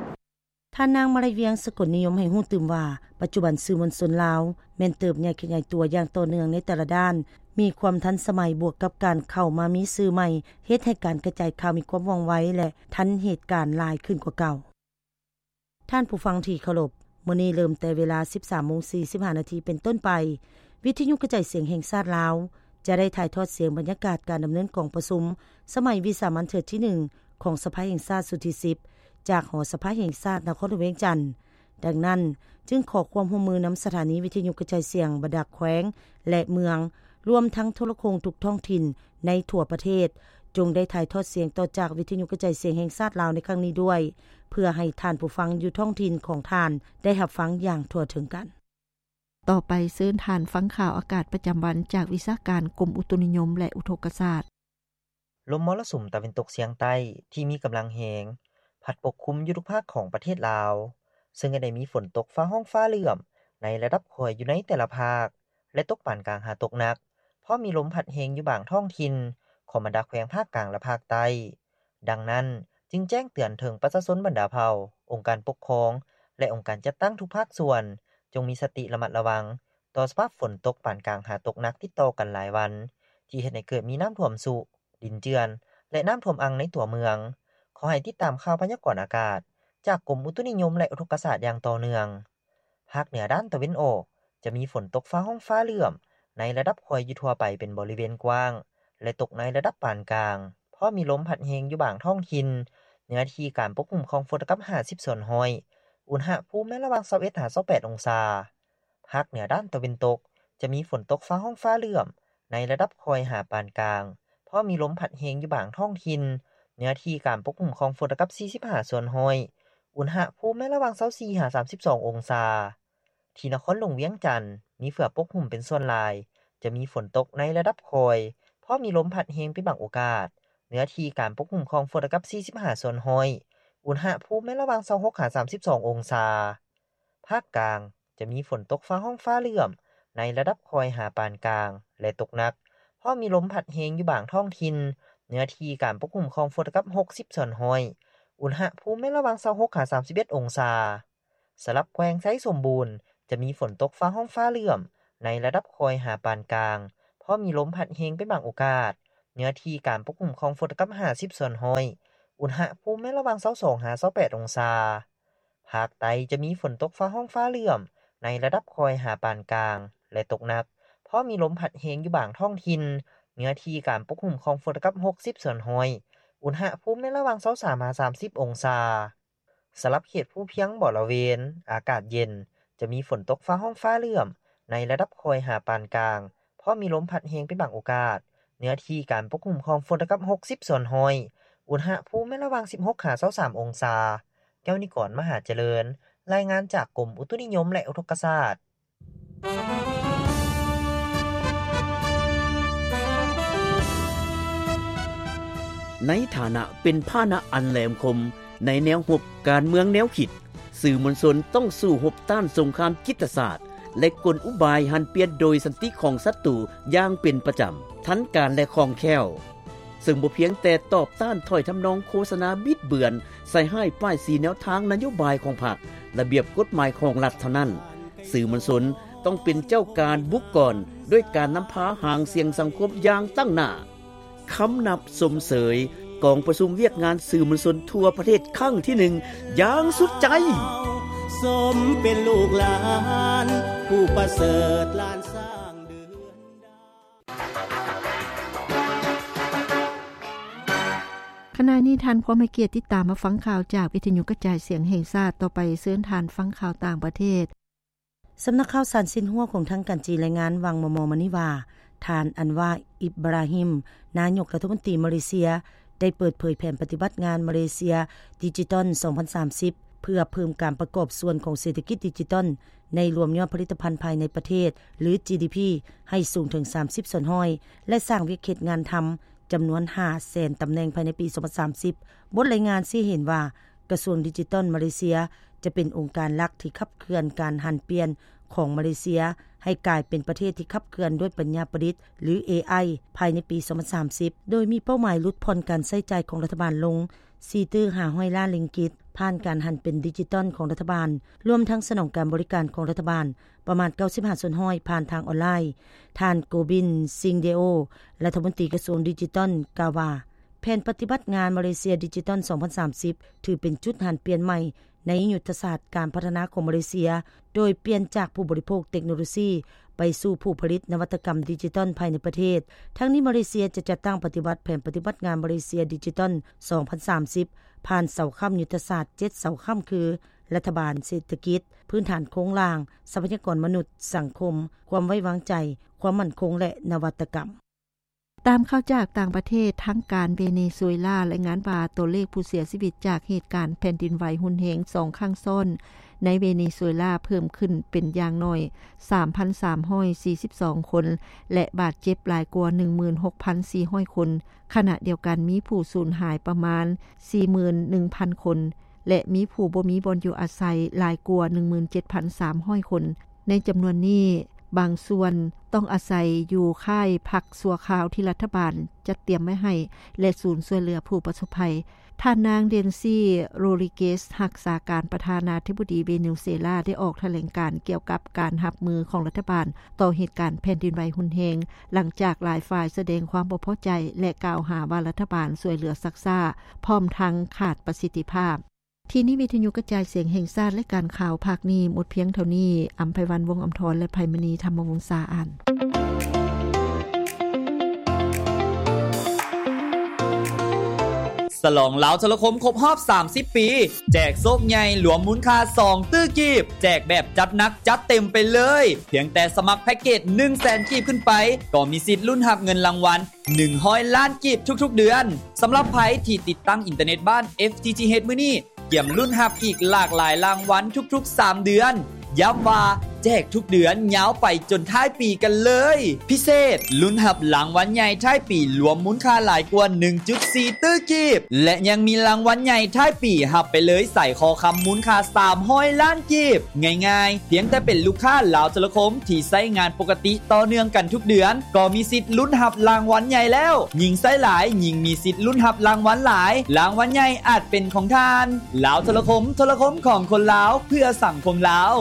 ທ່ານນາງ ມາໄລວຽງ ສະກົນນິຍົມ ໃຫ້ຮູ້ຕື່ມວ່າ ປັດຈຸບັນສື່ມວນຊົນລາວແມ່ນເຕີບໃຫຍ່ຂະຫຍາຍຕົວຢ່າງຕໍ່ເນື່ອງໃນແຕ່ລະດ້ານ, ມີຄວາມທັນສະໄໝ ບວກກັບການເຂົ້າມາມີສື່ໃໝ່ ເຮັດໃຫ້ການກະຈາຍຂ່າວມີຄວາມວ່ອງໄວ ແລະ ທັນເຫດການຫຼາຍຂຶ້ນກວ່າເກົ່າ. ທ່ານຜູ້ຟັງທີ່ເຄົາລົບ, ມື້ນີ້ເລີ່ມແຕ່ເວລາ ສິບສາມໂມງສີ່ສິບຫ້ານາທີເປັນຕົ້ນໄປ, ວິທະຍຸກະຈາຍສຽງແຫ່ງຊາດລາວ ຈະໄດ້ຖ່າຍທອດສຽງບັນຍາກາດການດຳເນີນກອງປະຊຸມສະໄໝວິສາມັນເທື່ອທີໜຶ່ງ ຂອງສະພາແຫ່ງຊາດຊຸດທີສິບ ຈາກຫໍສະພາແຫ່ງຊາດນະຄອນຫຼວງວຽງຈັນ. ດັ່ງນັ້ນ, ຈຶ່ງຂໍຄວາມຮ່ວມມືນຳສະຖານີວິທະຍຸກະຈາຍສຽງບັນດາແຂວງ ແລະ ເມືອງ, ລວມທັງໂທລະໂຄ່ງທຸກທ້ອງຖິ່ນໃນທົ່ວປະເທດ, ຈົ່ງໄດ້ຖ່າຍທອດສຽງຕໍ່ຈາກວິທະຍຸກະຈາຍສຽງແຫ່ງຊາດລາວໃນຄັ້ງນີ້ດ້ວຍ, ເພື່ອໃຫ້ທ່ານຜູ້ຟັງຢູ່ທ້ອງຖິ່ນຂອງທ່ານໄດ້ຮັບຟັງຢ່າງທົ່ວເຖິງກັນ. ຕໍ່ໄປເຊີນທ່ານຟັງຂ່າວອາກາດປະຈຳວັນຈາກວິຊາການກົມອຸຕຸນິຍົມ ແລະ ອຸທົກກະສາດ. ລົມມໍລະສຸມຕາເວັນຕົກສຽງໃຕ້ທີ່ມີກຳລັງແຮງ ພັດປົກຄຸມຢູ່ທຸກພາກຂອງປະເທດລາວ, ເຊິ່ງໃຫ້ໄດ້ມີຝົນຕົກຟ້າຮ້ອງຟ້າເຫຼື້ອມໃນລະດັບຄ່ອຍຢູ່ໃນແຕ່ລະພາກ ແລະ ຕົກປານກາງຫາຕົກໜັກ, ພ້ອມມີລົມພັດແຮງຢູ່ບາງທ້ອງຖິ່ນຂອງບັນດາແຂວງພາກກາງ ແລະ ພາກໃຕ້. ດັ່ງນັ້ນ, ຈຶ່ງແຈ້ງເຕືອນເຖິງປະຊາຊົນບັນດາເຜົ່າ, ອົງການປົກຄອງ ແລະ ອົງການຈັດຕັ້ງທຸກພາກສ່ວນ ຈົ່ງມີສະຕິລະມັດລະວັງຕໍ່ສະພາບຝົນຕົກປານກາງຫາຕົກໜັກຕິດຕໍ່ກັນຫຼາຍວັນ, ທີ່ເຮັດໃຫ້ເກີດມີນ້ຳຖ້ວມຊຸ, ດິນເຈື່ອນ ແລະ ນ້ຳຖ້ວມອັ່ງໃນຕົວເມືອງ. ຂໍໃຫ້ຕິດຕາມຂ່າວພະຍາກອນອາກາດຈາກກົມອຸຕຸນິຍົມ ແລະ ອຸທົກກະສາດຢ່າງຕໍ່ເນື່ອງ. ພາກເໜືອດ້ານຕາເວັນອອກ ຈະມີຝົນຕົກຟ້າຮ້ອງຟ້າເຫຼື້ອມໃນລະດັບຄ່ອຍຢູ່ທົ່ວໄປເປັນບໍລິເວນກວ້າງ ແລະ ຕົກໃນລະດັບປານກາງ, ພ້ອມມີລົມພັດແຮງຢູ່ບາງທ້ອງຖິ່ນ, ເນື້ອທີ່ການປົກຄຸມຂອງຝົນລະກັບຫ້າສິບສ່ວນຮ້ອຍ, ອຸນຫະພູມແມ່ນລະຫວ່າງຊາວເອັດຫາຊາວແປດອົງສາ. ພາກເໜືອດ້ານຕາເວັນຕົກ ຈະມີຝົນຕົກຟ້າຮ້ອງຟ້າເຫຼື້ອມໃນລະດັບຄ່ອຍຫາປານກາງ, ພ້ອມມີລົມພັດແຮງຢູ່ບາງທ້ອງຖິ່ນ, ເນື້ອທີ່ການປົກຄຸມຂອງຝົນລະກັບສີ່ສິບຫ້າສ່ວນຮ້ອຍ, ອຸນຫະພູມແມ່ນລະຫວ່າງຊາວສີ່ຫາສາມສິບສອງອົງສາ. ທີ່ນະຄອນຫຼວງວຽງຈັນ ມີເຝືອປົກຫຸ້ມເປັນສ່ວນຫຼາຍ, ຈະມີຝົນຕົກໃນລະດັບຄ່ອຍ, ພ້ອມມີລົມພັດແຮງເປັນບາງໂອກາດ, ເນື້ອທີ່ການປົກຄຸມຂອງຝົນລະກັບສີ່ສິບຫ້າສ່ວນຮ້ອຍ, ອຸນຫະພູມແມ່ນລະຫວ່າງຊາວຫົກຫາສາມສິບສອງອົງສາ. ພາກກາງ ຈະມີຝົນຕົກຟ້າຮ້ອງຟ້າເຫຼື້ອມໃນລະດັບຄ່ອຍຫາປານກາງ ແລະ ຕົກໜັກ, ພ້ອມມີລົມພັດແຮງຢູ່ບາງທ້ອງຖິ່ນ, ເນື້ອທີ່ການປົກຄຸມຂອງຝົນລະກັບຫົກສິບສ່ວນຮ້ອຍ, ອຸນຫະພູມແມ່ນລະຫວ່າງຊາວຫົກຫາສາມສິບເອັດອົງສາ. ສຳລັບແຂວງໄຊສົມບູນ ຈະມີຝົນຕົກຟ້າຮ້ອງຟ້າເຫຼື້ອມ ໃນລະດັບຄ່ອຍຫາປານກາງ, ພໍມີລົມພັດແຮງເປັນບາງໂອກາດ. ເນື້ອທີ່ການປົກຄຸມຂອງຝົນເທົ່າກັບຫ້າສິບສ່ວນຮ້ອຍ. ອຸນຫະພູມແມ່ນລະຫວ່າງຊາວສອງຫາຊາວແປດອົງສາ. ພາກໃຕ້ຈະມີຝົນຕົກຟ້າຮ້ອງຟ້າເຫຼື້ອມໃນລະດັບຄ່ອຍຫາປານກາງ ແລະ ຕົກໜັກ, ພໍມີລົມພັດແຮງຢູ່ບາງທ້ອງຖິ່ນ. ເນື້ອທີ່ການປົກຄຸມຂອງຝົນເທົ່າກັບຫົກສິບສ່ວນຮ້ອຍ. ອຸນຫະພູມແມ່ນລະຫວ່າງຊາວສາມຫາສາມສິບອົງສາ. ສຳລັບເຂດພູພຽງບໍລະເວນ ອາກາດເຢັນ, ຈະມີຝົນຕົກຟ້າຮ້ອງຟ້າເຫຼື້ອມໃນລະດັບຄ່ອຍຫາປານກາງ, ພໍມີລົມພັດແຮງເປັນບາງໂອກາດ. ເນື້ອທີ່ການປົກຄຸມຂອງຝົນເທົ່າກັບຫົກສິບສ່ວນຮ້ອຍ. ອຸນຫະພູມແມ່ນລະຫວ່າງສິບຫົກຫາຊາວສາມອົງສາ. ແກ້ວນິກອນ ມະຫາຈະເລີນ, ລາຍງານຈາກກົມອຸຕຸນິຍົມ ແລະ ອຸທົກກະສາດ. ໃນຖານະເປັນພາຫະນະອັນແຫຼມຄົມໃນແນວຮົບການເມືອງແນວຄິດ, ສື່ມວນຊົນຕ້ອງສູ້ຮົບຕ້ານສົງຄາມຈິດຕະສາດ ແລະ ກົນອຸບາຍຫັນປ່ຽນໂດຍສັນຕິຂອງສັດຕູຢ່າງເປັນປະຈຳ, ທັນການ ແລະ ຄ່ອງແຄ້ວ. ເຊິ່ງບໍ່ພຽງແຕ່ຕອບຕ້ານຖ້ອຍທຳນອງໂຄສະນາບິດເບືອນ, ໃສ່ຮ້າຍປ້າຍສີແນວທາງນະໂຍບາຍຂອງພັກ, ລະບຽບກົດໝາຍຂອງລັດເທົ່ານັ້ນ, ສື່ມວນຊົນຕ້ອງເປັນເຈົ້າການບຸກກ່ອນ ດ້ວຍການນຳພາຫາງສຽງສັງຄົມຢ່າງຕັ້ງໜ້າ. ຄຳນັບຊົມເຊີຍກອງປະຊຸມວຽກງານສື່ມວນຊົນທົ່ວປະເທດຄັ້ງທີໜຶ່ງຢ່າງສຸດໃຈ. ສົມເປັນລູກຫຼານຜູ້ປະເສີດ ຫຼານຊ້າງເດືອນດາວ. ຂະນະນີ້ທ່ານພວມໃຫ້ກຽດຕິດຕາມມາຟັງຂ່າວຈາກວິທະຍຸກະຈາຍສຽງແຫ່ງຊາດ. ຕໍ່ໄປເຊີນທ່ານຟັງຂ່າວຕ່າງປະເທດ. ສຳນັກຂ່າວສານຊິນຫົວຂອງທາງການຈີນລາຍງານຫວ່າງມໍ່ໆມານີ້ວ່າ ທ່ານ ອັນວາ ອິບບຣາຮິມ ນາຍົກລັດຖະມົນຕີມາເລເຊຍ ໄດ້ເປີດເຜີຍແຜນປະຕິບັດງານມາເລເຊຍດິຈິຕອນສອງພັນສາມສິບ ເພື່ອເພີ່ມການປະກອບສ່ວນຂອງເສດຖະກິດດິຈິຕອນ ໃນລວມຍອດຜະລິດຕະພັນພາຍໃນປະເທດ ຫຼື ຈີດີພີ ໃຫ້ສູງເຖິງສາມສິບສ່ວນຮ້ອຍ ແລະ ສ້າງວຽກເຮັດງານທຳຈຳນວນຫ້າແສນຕຳແໜ່ງພາຍໃນປີສອງພັນສາມສິບ. ບົດລາຍງານຊີ້ໃຫ້ເຫັນວ່າ ກະຊວງດິຈິຕອນມາເລເຊຍ ຈະເປັນອົງການຫຼັກທີ່ຂັບເຄື່ອນການຫັນປ່ຽນຂອງມາເລເຊຍ ໃຫ້ກາຍເປັນປະເທດທີ່ຂັບເຄື່ອນດ້ວຍປັນຍາປະດິດ ຫຼື ເອໄອ ພາຍໃນປີສອງພັນສາມສິບ ໂດຍມີເປົ້າໝາຍຫຼຸດຜ່ອນການໃຊ້ຈ່າຍຂອງລັດຖະບານລົງສີ່ຕື້ຫ້າຮ້ອຍລ້ານລິງກິດ ຜ່ານການຫັນເປັນດິຈິຕອນຂອງລັດຖະບານ, ລວມທັງສະໜອງການບໍລິການຂອງລັດຖະບານປະມານເກົ້າສິບຫ້າສ່ວນຮ້ອຍຜ່ານທາງອອນລາຍ. ທ່ານ ໂກບິນ ຊິງເດໂອ ລັດຖະມົນຕີກະຊວງດິຈິຕອນ ກ່າວວ່າ ແຜນປະຕິບັດງານມາເລເຊຍດິຈິຕອນສອງພັນສາມສິບ ຖືເປັນຈຸດຫັນປ່ຽນໃໝ່ໃນຍຸດທະສາດການພັດທະນາຂອງມາເລເຊຍ, ໂດຍປ່ຽນຈາກຜູ້ບໍລິໂພກເຕັກໂນໂລຊີ ໄປສູ່ຜູ້ຜະລິດນະວັດຕະກຳດິຈິຕອນພາຍໃນປະເທດ. ທັງນີ້, ມາເລເຊຍຈະຈັດຕັ້ງປະຕິບັດແຜນປະຕິບັດງານມາເລເຊຍດິຈິຕອນສອງພັນສາມສິບ ຜ່ານເສົາຄ້ຳຍຸດທະສາດເຈັດເສົາຄ້ຳ ຄື ລັດຖະບານ, ເສດຖະກິດ, ພື້ນຖານໂຄງລ່າງ, ຊັບພະຍາກອນມະນຸດ, ສັງຄົມ, ຄວາມໄວ້ວາງໃຈ, ຄວາມໝັ້ນຄົງ ແລະ ນະວັດຕະກຳ. ຕາມຂ່າວຈາກຕ່າງປະເທດ, ທາງການເວເນຊູເອລາລາຍງານວ່າ ຕົວເລກຜູ້ເສຍຊີວິດຈາກເຫດການແຜ່ນດິນໄຫວຮຸນແຮງສອງຄັ້ງຊ້ອນໃນເວເນຊູເອລາເພີ່ມຂຶ້ນເປັນຢ່າງໜ້ອຍສາມພັນສາມຮ້ອຍສີ່ສິບສອງຄົນ ແລະ ບາດເຈັບຫຼາຍກວ່າໜຶ່ງໝື່ນຫົກພັນສີ່ຮ້ອຍຄົນ. ຂະນະດຽວກັນ, ມີຜູ້ສູນຫາຍປະມານສີ່ໝື່ນໜຶ່ງພັນຄົນ ແລະ ມີຜູ້ບໍ່ມີບ່ອນຢູ່ອາໄສຫຼາຍກວ່າໜຶ່ງໝື່ນເຈັດພັນສາມຮ້ອຍຄົນ. ໃນຈຳນວນນີ້, ບາງສ່ວນຕ້ອງອາໄສຢູ່ຄ້າຍພັກຊົ່ວຄາວທີ່ລັດຖະບານຈັດຕຽມໄວ້ໃຫ້ ແລະ ສູນຊ່ວຍເຫຼືອຜູ້ປະສົບໄພ. ທ່ານນາງ ເດນຊີ ໂຣລິເກສ ຮັກສາການປະທານາທິບໍດີເວເນຊູເອລາ ໄດ້ອອກຖະແຫຼງການກ່ຽວກັບການຮັບມືຂອງລັດຖະບານຕໍ່ເຫດການແຜ່ນດິນໄຫວຮຸນແຮງ, ຫຼັງຈາກຫຼາຍຝ່າຍສະແດງຄວາມບໍ່ພໍໃຈ ແລະ ກ່າວຫາວ່າລັດຖະບານຊ່ວຍເຫຼືອຊັກຊ້າ ພ້ອມທັງຂາດປະສິດທິພາບ. ທີ່ນີ້ວິທະຍຸກະຈາຍສຽງແຫ່ງຊາດ ແລະ ການຂ່າວພາກນີ້ໝົດພຽງເທົ່ານີ້. ອຳໄພວັນ ວົງອຳທອນ ແລະ ໄພມະນີ ທຳມະວົງສາ ອ່ານ. ສະຫຼອງລາວໂທລະຄົມຄົບຮອບສາມສິບປີ, ແຈກໂຊກໃຫຍ່ລວມມູນຄ່າສອງຕື້ກີບ, ແຈກແບບຈັດໜັກຈັດເຕັມໄປເລີຍ. ພຽງແຕ່ສະໝັກແພັກເກດໜຶ່ງແສນກີບຂຶ້ນໄປ, ກໍມີສິດລຸ້ນຮັບເງິນລາງວັນ ໜຶ່ງຮ້ອຍລ້ານກີບທຸກໆເດືອນ. ສຳລັບໃຜທີ່ຕິດຕັ້ງອິນເຕີເນັດບ້ານ ເອັຟ ທີ ທີ ເອັດ ມື້ນີ້, ກຽມລຸ້ນຮັບອີກຫຼາກຫຼາຍລາງວັນທຸກໆສາມເດືອນ. ຢ້ຳວ່າແຈກທຸກເດືອນຍາວໄປຈົນທ້າຍປີກັນເລີຍ. ພິເສດ, ລຸ້ນຮັບລາງວັນໃຫຍ່ທ້າຍປີລວມມູນຄ່າຫຼາຍກວ່າໜຶ່ງຈຸດສີ່ຕື້ກີບ ແລະ ຍັງມີລາງວັນໃຫຍ່ທ້າຍປີຮັບໄປເລີຍສາຍຄໍຄຳມູນຄ່າສາມຮ້ອຍລ້ານ ກີບ. ງ່າຍໆ, ພຽງແຕ່ເປັນລູກຄ້າລາວໂທລະຄົມທີ່ໃຊ້ງານປົກກະຕິຕໍ່ເນື່ອງກັນທຸກເດືອນ ກໍມີສິດລຸ້ນຮັບລາງວັນໃຫຍ່ແລ້ວ. ຍິ່ງໃຊ້ຫຼາຍ, ຍິ່ງມີສິດລຸ້ນຮັບລາງວັນຫຼາຍ. ລາງວັນໃຫຍ່ອາດເປັນຂອງທ່ານ. ລາວໂທລະຄົມ, ໂທລະຄົມຂອງຄົນລາວ, ເພື່ອສັງຄົມລາວ.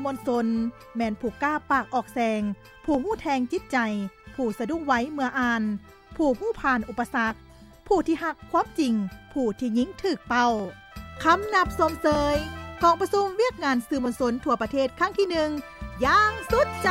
ມວນຊົນ ແມ່ນຜູ້ກ້າປາກອອກແສງ, ຜູ້ຮູ້ແທງຈິດໃຈ, ຜູ້ສະດຸ້ງໄວເມື່ອອ່ານ, ຜູ້ຮູ້ຜ່ານອຸປະສັກ, ຜູ້ທີ່ຮັກຄວາມຈິງ, ຜູ້ທີ່ຍິງຖືກເປົ້າ. ຄຳນັບຊົມເຊີຍກອງປະຊຸມວຽກງານສື່ມວນຊົນທົ່ວປະເທດຄັ້ງທີໜຶ່ງ ຢ່າງສຸດໃຈ.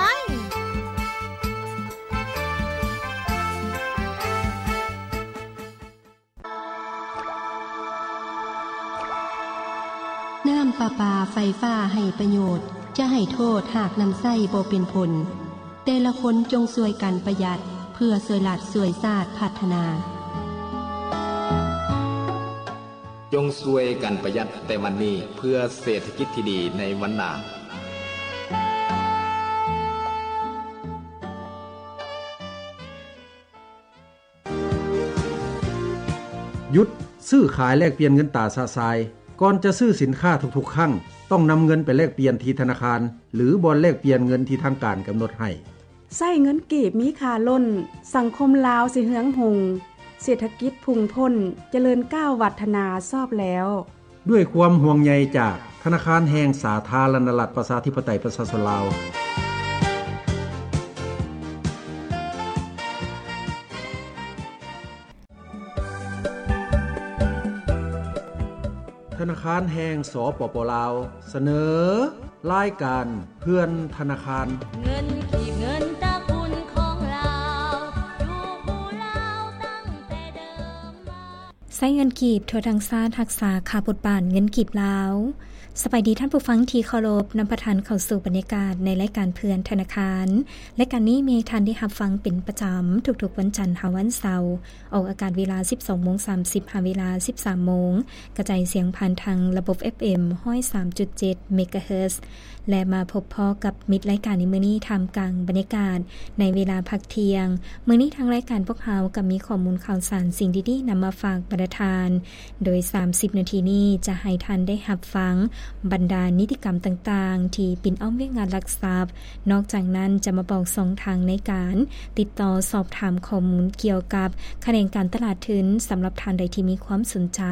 ນ້ຳປະປາໄຟຟ້າໄຮ້ປະໂຫຍດ, ຈະໃຫ້ໂທດຫາກນຳໃຊ້ບໍ່ເປັນຜົນ. ແຕ່ລະຄົນຈົ່ງຊ່ວຍກັນປະຢັດ ເພື່ອຊ່ວຍລັດຊ່ວຍຊາດພັດທະນາ. ຈົ່ງຊ່ວຍກັນປະຢັດແຕ່ວັນນີ້ ເພື່ອເສດຖະກິດທີ່ດີໃນວັນໜ້າ. ຢຸດຊື້ຂາຍແລກປ່ຽນເງິນຕາຊະຊາຍ. ກ່ອນຈະຊື້ສິນຄ້າທຸກໆຄັ້ງ, ຕ້ອງນຳເງິນໄປແລກປ່ຽນທີ່ທະນາຄານ ຫຼື ບ່ອນແລກປ່ຽນເງິນທີ່ທາງການກຳນົດໃຫ້. ໃຊ້ເງິນກີບມີຄ່າລົ້ນ, ສັງຄົມລາວຊິເຮືອງຮຸ່ງ, ເສດຖະກິດພຸ່ງພົ້ນ, ຈະເລີນກ້າວວັດທະນາຊອບແລ້ວ. ດ້ວຍຄວາມຫ່ວງໃຍຈາກທະນາຄານແຫ່ງສາທາລະນະລັດ ປະຊາທິປະໄຕ ປະຊາຊົນລາວ. ທະນາຄານແຫ່ງ ສປປ ລາວ ສະເໜີລາຍການເພື່ອນທະນາຄານ. ເງິນກີບ ເງິນຕະກຸນຂອງລາວ ຢູ່ຄູ່ລາວຕັ້ງແຕ່ເດີມມາ. ໃຊ້ເງິນກີບທົ່ວທັງຊາດ ຮັກສາຄ່າບົດບາດເງິນກີບລາວ. ສະບາຍດີທ່ານຜູ້ຟັງທີ່ເຄົາລົບ, ນຳພາທ່ານເຂົ້າສູ່ບັນຍາກາດໃນລາຍການເພື່ອນທະນາຄານ. ລາຍການນີ້ມີໃຫ້ທ່ານໄດ້ຮັບຟັງເປັນປະຈຳທຸກໆວັນຈັນຫາວັນເສົາ, ອອກອາກາດເວລາສິບສອງໂມງສາມສິບ ຫາເວລາສິບສາມໂມງ, ກະຈາຍສຽງຜ່ານທາງລະບົບ ເອັຟເອັມ ຮ້ອຍສາມຈຸດເຈັດ ເມກາເຮີດ ແລະ ມາພົບພໍ້ກັບມິດລາຍການໃນມື້ນີ້ ທ່າມກາງບັນຍາກາດໃນເວລາພັກທ່ຽງ. ມື້ນີ້ທາງລາຍການພວກເຮົາກໍມີຂໍ້ມູນຂ່າວສານ ສິ່ງດີໆນຳມາຝາກບັນດາທ່ານ. ໂດຍສາມສິບນາທີນີ້ຈະໃຫ້ທ່ານໄດ້ຮັບຟັງບັນດານິຕິກຳຕ່າງໆທີ່ປິ່ນອ້ອມວຽກງານລັກຊັບ. ນອກຈາກນັ້ນຈະມາບອກຊ່ອງທາງໃນການຕິດຕໍ່ສອບຖາມຂໍ້ມູນກ່ຽວກັບຂະແໜງການຕະຫຼາດທຶນ. ສຳລັບທ່ານໃດທີ່ມີຄວາມສົນໃຈ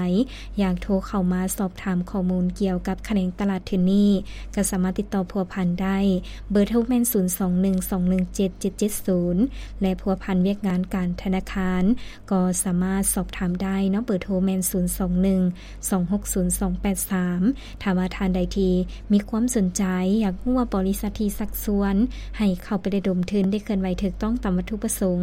ຢາກໂທເຂົ້າມາສອບຖາມຂໍ້ມູນກ່ຽວກັບຂະແໜງຕະຫຼາດທຶນນີ້, ກໍສາມາດຕິດຕໍ່ພົວພັນໄດ້. ເບີໂທແມ່ນ ສູນສອງໜຶ່ງສອງໜຶ່ງເຈັດເຈັດເຈັດສູນ ແລະ ພົວພັນວຽກງານການທະນາຄານ ກໍສາມາດສອບຖາມໄດ້ເນາະ. ເບີໂທແມ່ນ ສູນສອງໜຶ່ງສອງຫົກສູນສອງແປດສາມ. ຖ້າວ່າທ່ານໃດທີ່ມີຄວາມສົນໃຈ ຢາກຮູ້ວ່າບໍລິສັດທີ່ຊັກຊວນໃຫ້ເຂົ້າໄປລະດົມທຶນໄດ້ເຄື່ອນໄຫວຖືກຕ້ອງຕາມວັດຖຸປະສົງ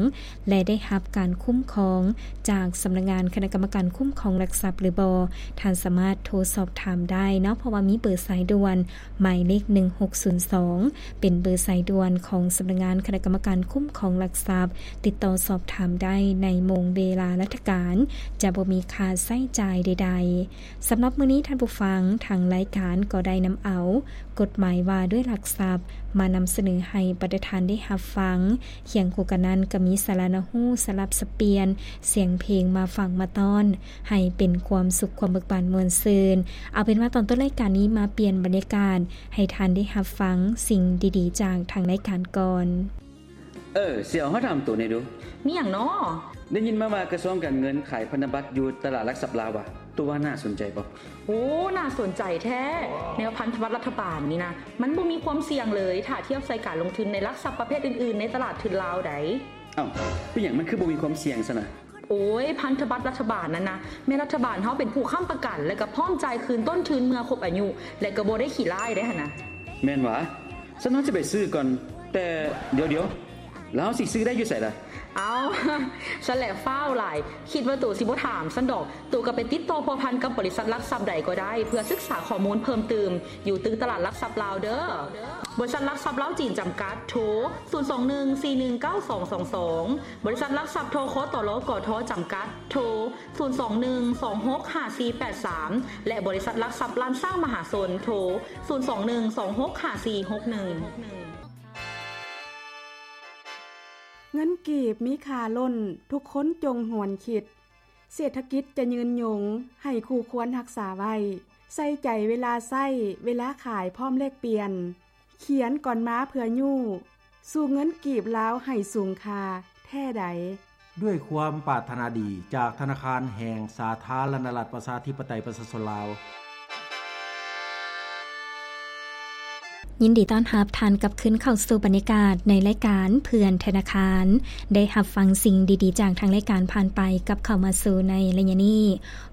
ແລະ ໄດ້ຮັບການຄຸ້ມຄອງຈາກສຳນັກງານຄະນະກຳມະການຄຸ້ມຄອງຫຼັກຊັບຫຼືບໍ່, ທ່ານສາມາດໂທສອບຖາມໄດ້ເນາະ, ເພາະວ່າມີເບີສາຍດ່ວນ ໝາຍເລກໜຶ່ງຫົກສູນສອງ ເປັນເບີສາຍດ່ວນຂອງສຳນັກງານຄະນະກຳມະການຄຸ້ມຄອງຫຼັກຊັບ. ຕິດຕໍ່ສອບຖາມໄດ້ໃນໂມງເວລາລັດຖະການ, ຈະບໍ່ມີຄ່າໃຊ້ຈ່າຍໃດໆ. ສຳລັບມື້ນີ້ທ່ານຜູ້ຟັງ, ທາງລາຍການກໍໄດ້ນຳເອົາກົດໝາຍວ່າດ້ວຍຫຼັກຊັບ ມານຳສະເໜີໃຫ້ບັນດາທ່ານໄດ້ຮັບຟັງ. ຄຽງຄູ່ກັນນັ້ນກໍມີສາລະໜ້າຮູ້, ສະຫຼັບສັບປ່ຽນສຽງເພງມາຝາກມາຕ້ອນ ໃຫ້ເປັນຄວາມສຸກຄວາມເບີກບານມ່ວນຊື່ນ. ເອົາເປັນວ່າຕອນຕົ້ນລາຍການນີ້ມາປ່ຽນບັນຍາກາດໃຫ້ທ່ານໄດ້ຮັບຟັງສິ່ງດີໆຈາກທາງລາຍການກ່ອນ. ເອີ ສຽວ ຂໍຖາມໂຕແດ່ດູ. ມີຫຍັງນໍ? ໄດ້ຍິນມາວ່າກະຊວງການເງິນຂາຍພັນທະບັດຢູ່ຕະຫຼາດຫຼັກຊັບລາວວ່າ ໂຕວ່າໜ້າສົນໃຈບໍ່? ໂອ້ ໜ້າສົນໃຈແທ້. ແນວພັນທະບັດລັດຖະບານນີ້ນະ ມັນບໍ່ມີຄວາມສ່ຽງເລີຍ ຖ້າທຽບໃສ່ການລົງທຶນໃນຫຼັກຊັບປະເພດອື່ນໆໃນຕະຫຼາດທຶນລາວໃດ. ເອົ້າ ເປັນຫຍັງມັນຄືບໍ່ມີຄວາມສ່ຽງຊັ້ນນະ? ໂອ້ຍ ພັນທະບັດລັດຖະບານນັ້ນນະ ແມ່ນລັດຖະບານເຮົາເປັນຜູ້ຄ້ຳປະກັນ ແລະ ກໍພ້ອມຈ່າຍຄືນຕົ້ນທຶນເມື່ອຄົບອາຍຸ ແລະ ກໍບໍ່ໄດ້ຂີ້ລ້າຍເດ້ຫັ້ນນະ. ແມ່ນຫວາ? ຊັ້ນເຮົາຊິໄປຊື້ກ່ອນ. ແຕ່ດຽວໆ ແລ້ວເຮົາຊິຊື້ໄດ້ຢູ່ໃສລະ? ເອົ້າ ຊັ້ນແຫຼະຟ້າວຫຼາຍ ຄິດວ່າໂຕຊິບໍ່ຖາມຊັ້ນດອກ. ໂຕກໍໄປຕິດຕໍ່ພົວພັນກັບບໍລິສັດຫຼັກຊັບໃດກໍໄດ້ ເພື່ອສຶກສາຂໍ້ມູນເພີ່ມຕື່ມ ຢູ່ຕຶກຕະຫຼາດຫຼັກຊັບລາວເດີ້. ບໍລິສັດຫຼັກຊັບລາວຈີນຈຳກັດ ໂທ ສູນສອງໜຶ່ງສີ່ໜຶ່ງເກົ້າສອງສອງສອງ. ບໍລິສັດຫຼັກຊັບ ທຄຕລ ກທ ຈຳກັດ ໂທ ສູນສອງໜຶ່ງສອງຫົກຫ້າສີ່ແປດສາມ ແລະ ບໍລິສັດຫຼັກຊັບລ້ານຊ້າງມະຫາຊົນ ໂທ ສູນສອງໜຶ່ງສອງຫົກຫ້າສີ່ຫົກໜຶ່ງ. ເງິນກີບມີຄ່າລົ້ນ, ທຸກຄົນຈົ່ງຫວນຄິດ. ເສດຖະກິດຈະຍືນຍົງ, ໃຫ້ຄູ່ຄວນຮັກສາໄວ້. ໃສ່ໃຈເວລາໃຊ້, ເວລາຂາຍພ້ອມແລກປ່ຽນ. ຂຽນກ່ອນມາເພື່ອຍູ້ ສູ່ເງິນກີບລາວໃຫ້ສູງຄ່າແທ້ໃດ. ດ້ວຍຄວາມປາດຖະໜາດີຈາກທະນາຄານແຫ່ງສາທາລະນະລັດ ປະຊາທິປະໄຕ ປະຊາຊົນລາວ. ຍິ ຍິນດີຕ້ອນຮັບທ່ານກັບຄືນເຂົ້າສູ່ບັນຍາກາດໃນລາຍການເພື່ອນທະນາຄານ. ໄດ້ຮັບຟັງສິ່ງດີໆຈາກທາງລາຍການຜ່ານໄປກັບເຂົ້າມາສູ່ໃນໄລຍະນີ້.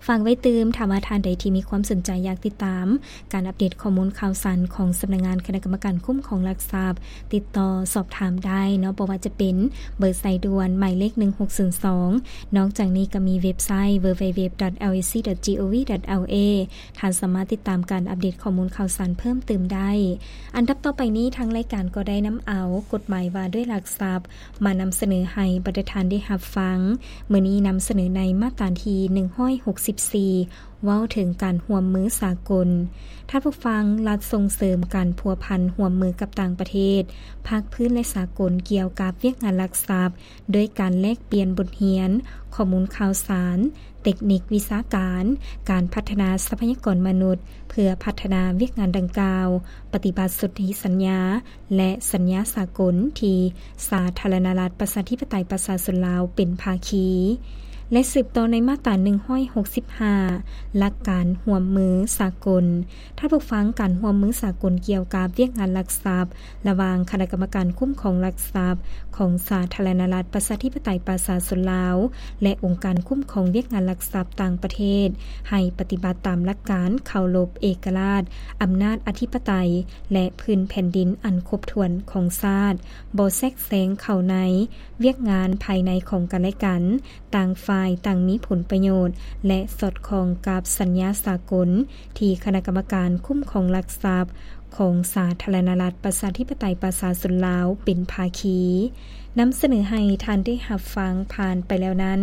ຝາກໄວ້ຕື່ມ, ຖ້າວ່າທ່ານໃດທີ່ມີຄວາມສົນໃຈຢາກຕິດຕາມການອັບເດດຂໍ້ມູນຂ່າວສານຂອງສຳນັກງານຄະນະກຳມະການຄຸ້ມຄອງຫຼັກຊັບ, ຕິດຕໍ່ສອບຖາມໄດ້ເນາະ, ບໍ່ວ່າຈະເປັນເບີສາຍດ່ວນໝາຍເລກໜຶ່ງຫົກສູນສອງ. ນອກຈາກນີ້ກໍມີເວັບໄຊ www.lac.gov.la ທ່ານສາມາດຕິດຕາມການອັບເດດຂໍ້ມູນຂ່າວສານເພີ່ມຕື່ມໄດ້. ອັນດັບຕໍ່ໄປນີ້ ທາງລາຍການກໍໄດ້ນຳເອົາກົດໝາຍວ່າດ້ວຍຫຼັກຊັບ ມານຳສະເໜີໃຫ້ບັນດາທ່ານໄດ້ຮັບຟັງ. ມື້ນີ້ນຳສະເໜີໃນມາດຕາທີໜຶ່ງຮ້ອຍຫົກສິບສີ່ ເວົ້າເຖິງການຮ່ວມມືສາກົນ. ທ່ານຜູ້ຟັງ, ລັດສົ່ງເສີມການພົວພັນຮ່ວມມືກັບຕ່າງປະເທດ, ພາກພື້ນ ແລະ ສາກົນ ກ່ຽວກັບວຽກງານຫຼັກຊັບ ດ້ວຍການແລກປ່ຽນບົດຮຽນ, ຂໍ້ມູນຂ່າວສານ, ເຕັກນິກວິຊາການ, ການພັດທະນາຊັບພະຍາກອນມະນຸດ ເພື່ອພັດທະນາວຽກງານດັ່ງກ່າວ, ປະຕິບັດສົນທິສັນຍາ ແລະ ສັນຍາສາກົນທີ່ສາທາລະນະລັດ ປະຊາທິປະໄຕ ປະຊາຊົນລາວ ເປັນພາຄີ. ແລະ ສືບຕໍ່ໃນມາດຕາໜຶ່ງຮ້ອຍຫົກສິບຫ້າ ຫຼັກການຮ່ວມມືສາກົນ. ທ່ານຜູ້ຟັງ, ການຮ່ວມມືສາກົນກ່ຽວກັບວຽກງານຫຼັກຊັບ ລະຫວ່າງຄະນະກຳມະການຄຸ້ມຄອງຫຼັກຊັບຂອງສາທາລະນະລັດ ປະຊາທິປະໄຕ ປະຊາຊົນລາວ ແລະ ອົງການຄຸ້ມຄອງວຽກງານຫຼັກຊັບຕ່າງປະເທດ ໃຫ້ປະຕິບັດຕາມຫຼັກການເຄົາລົບເອກະລາດ, ອຳນາດອະທິປະໄຕ ແລະ ພື້ນແຜ່ນດິນອັນຄົບຖ້ວນຂອງຊາດ, ບໍ່ແຊກແຊງເຂົ້າໃນວຽກງານພາຍໃນຂອງກັນແລະກັນ, ຕ່າງຝ່າຍຕ່າງມີຜົນປະໂຫຍດ ແລະ ສອດຄ່ອງກັບສັນຍາສາກົນທີ່ຄະນະກຳມະການຄຸ້ມຄອງຫຼັກຊັບຂອງສາທາລະນະລັດ ປະຊາທິປະໄຕ ປະຊາຊົນລາວ ເປັນພາຄີ. ນຳສະເໜີໃຫ້ທ່ານໄດ້ຮັບຟັງຜ່ານໄປແລ້ວນັ້ນ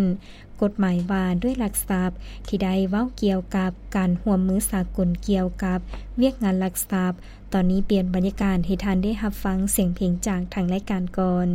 ກົດໝາຍວ່າດ້ວຍຫຼັກຊັບ ທີ່ໄດ້ເວົ້າກ່ຽວກັບການຮ່ວມມືສາກົນກ່ຽວກັບວຽກງານຫຼັກຊັບ. ຕອນນີ້ປ່ຽນບັນຍາກາດໃຫ້ທ່ານໄດ້ຮັບຟັງສຽງເພງຈາກທາງລາຍການກ່ອນ.